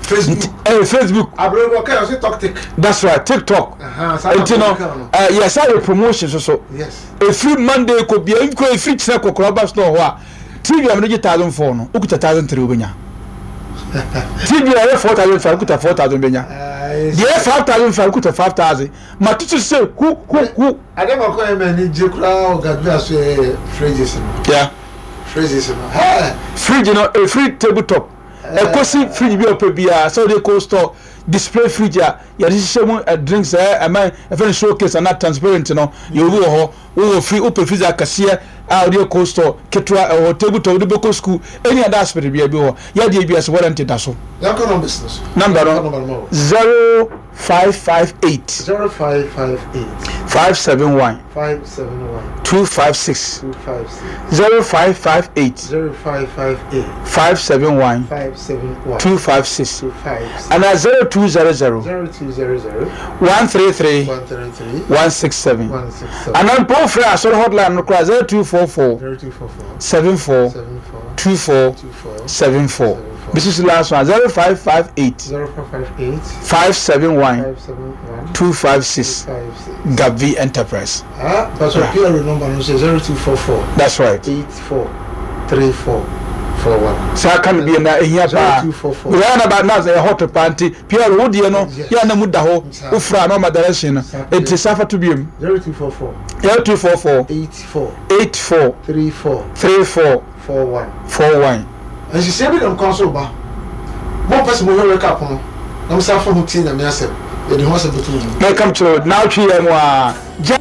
C: Facebook.
B: Ɛyɛ Facebook.
C: Abirɛ ɔkɛ ɔsɛ TikTok.
B: That's right, TikTok. Nti no yɛ sa yɛ promotion soso efiri Monday kɔ bia nkɔ efiri kyerɛ kɔkɔrɔ ɔba store hɔ a, T V a mo de gye thousand four no, okuta thousand three wobɛnya. T V a ɛyɛ four thousand five, okuta four thousand bɛnya. Deɛ ɛyɛ five thousand five, okuta five thousand. Ma tutu sɛ hu hu hu.
C: Ade baako a ɛmɛ ani gye koraa wɔ Gadvi aso yɛ fridges no.
B: Yeah.
C: Fridges no hɛɛ.
B: Fridge no efiri table top ɛkɔsi fridge bi a ɔpɛ biara sɛ ɔde cold store, display fridge a yɛde hyehyɛ mu drinks, ɛ ɛmɛ ɛfɛ no showcase ana transparent no, yɛ obi wɔ hɔ. Wowɔ firi wopɛ freezer akɛseɛ a wode cold store, ketewa ɛwɔ table top, wode bɛkɔ school, ɛni ada aspect bia bi wɔ yɛdeɛ bi ase, warranty da so.
C: Yɛnkɔ numbers no so.
B: Number no, zero five five eight.
C: zero five five eight.
B: five seven one.
C: five seven one.
B: two five six.
C: two five six.
B: zero five five eight.
C: zero five five eight.
B: five seven one.
C: five seven one.
B: two five six.
C: two five six.
B: Ana zero two zero zero.
C: zero two zero zero.
B: one three three.
C: one three three.
B: one six seven.
C: one six seven.
B: Ana mpo frɛ asɔre hotline no koraa, zero two four four.
C: zero two four four.
B: seven four.
C: seven four.
B: two four.
C: two four.
B: seven four. Bisi last one, zero five five eight.
C: zero five five eight.
B: five seven one.
C: five seven one.
B: two five six.
C: five six.
B: Gavi Enterprise.
C: Ah, Pastor P R number no sɛ zero two four four.
B: That's right.
C: eight four three four four one.
B: Saa ka no bi na ehia paa.
C: zero two four four.
B: Wia na ba na sɛ hot paa nti P R wo deɛ no yɛ na mu da hɔ, wofra na ɔma direction no, nti safa to biom.
C: zero two four four.
B: zero two four four.
C: eight four.
B: eight four.
C: three four.
B: three four.
C: four one.
B: four one.
C: Nhyehyɛ bi nam kwan so ba mo pɛ sɛ mohwɛ World Cup no na mo sa fa ho tie Nyame asɛm, yɛde ho asɛm bɛto mu.
B: Mɛka kyerɛ na wotwe yɛ mu a gya.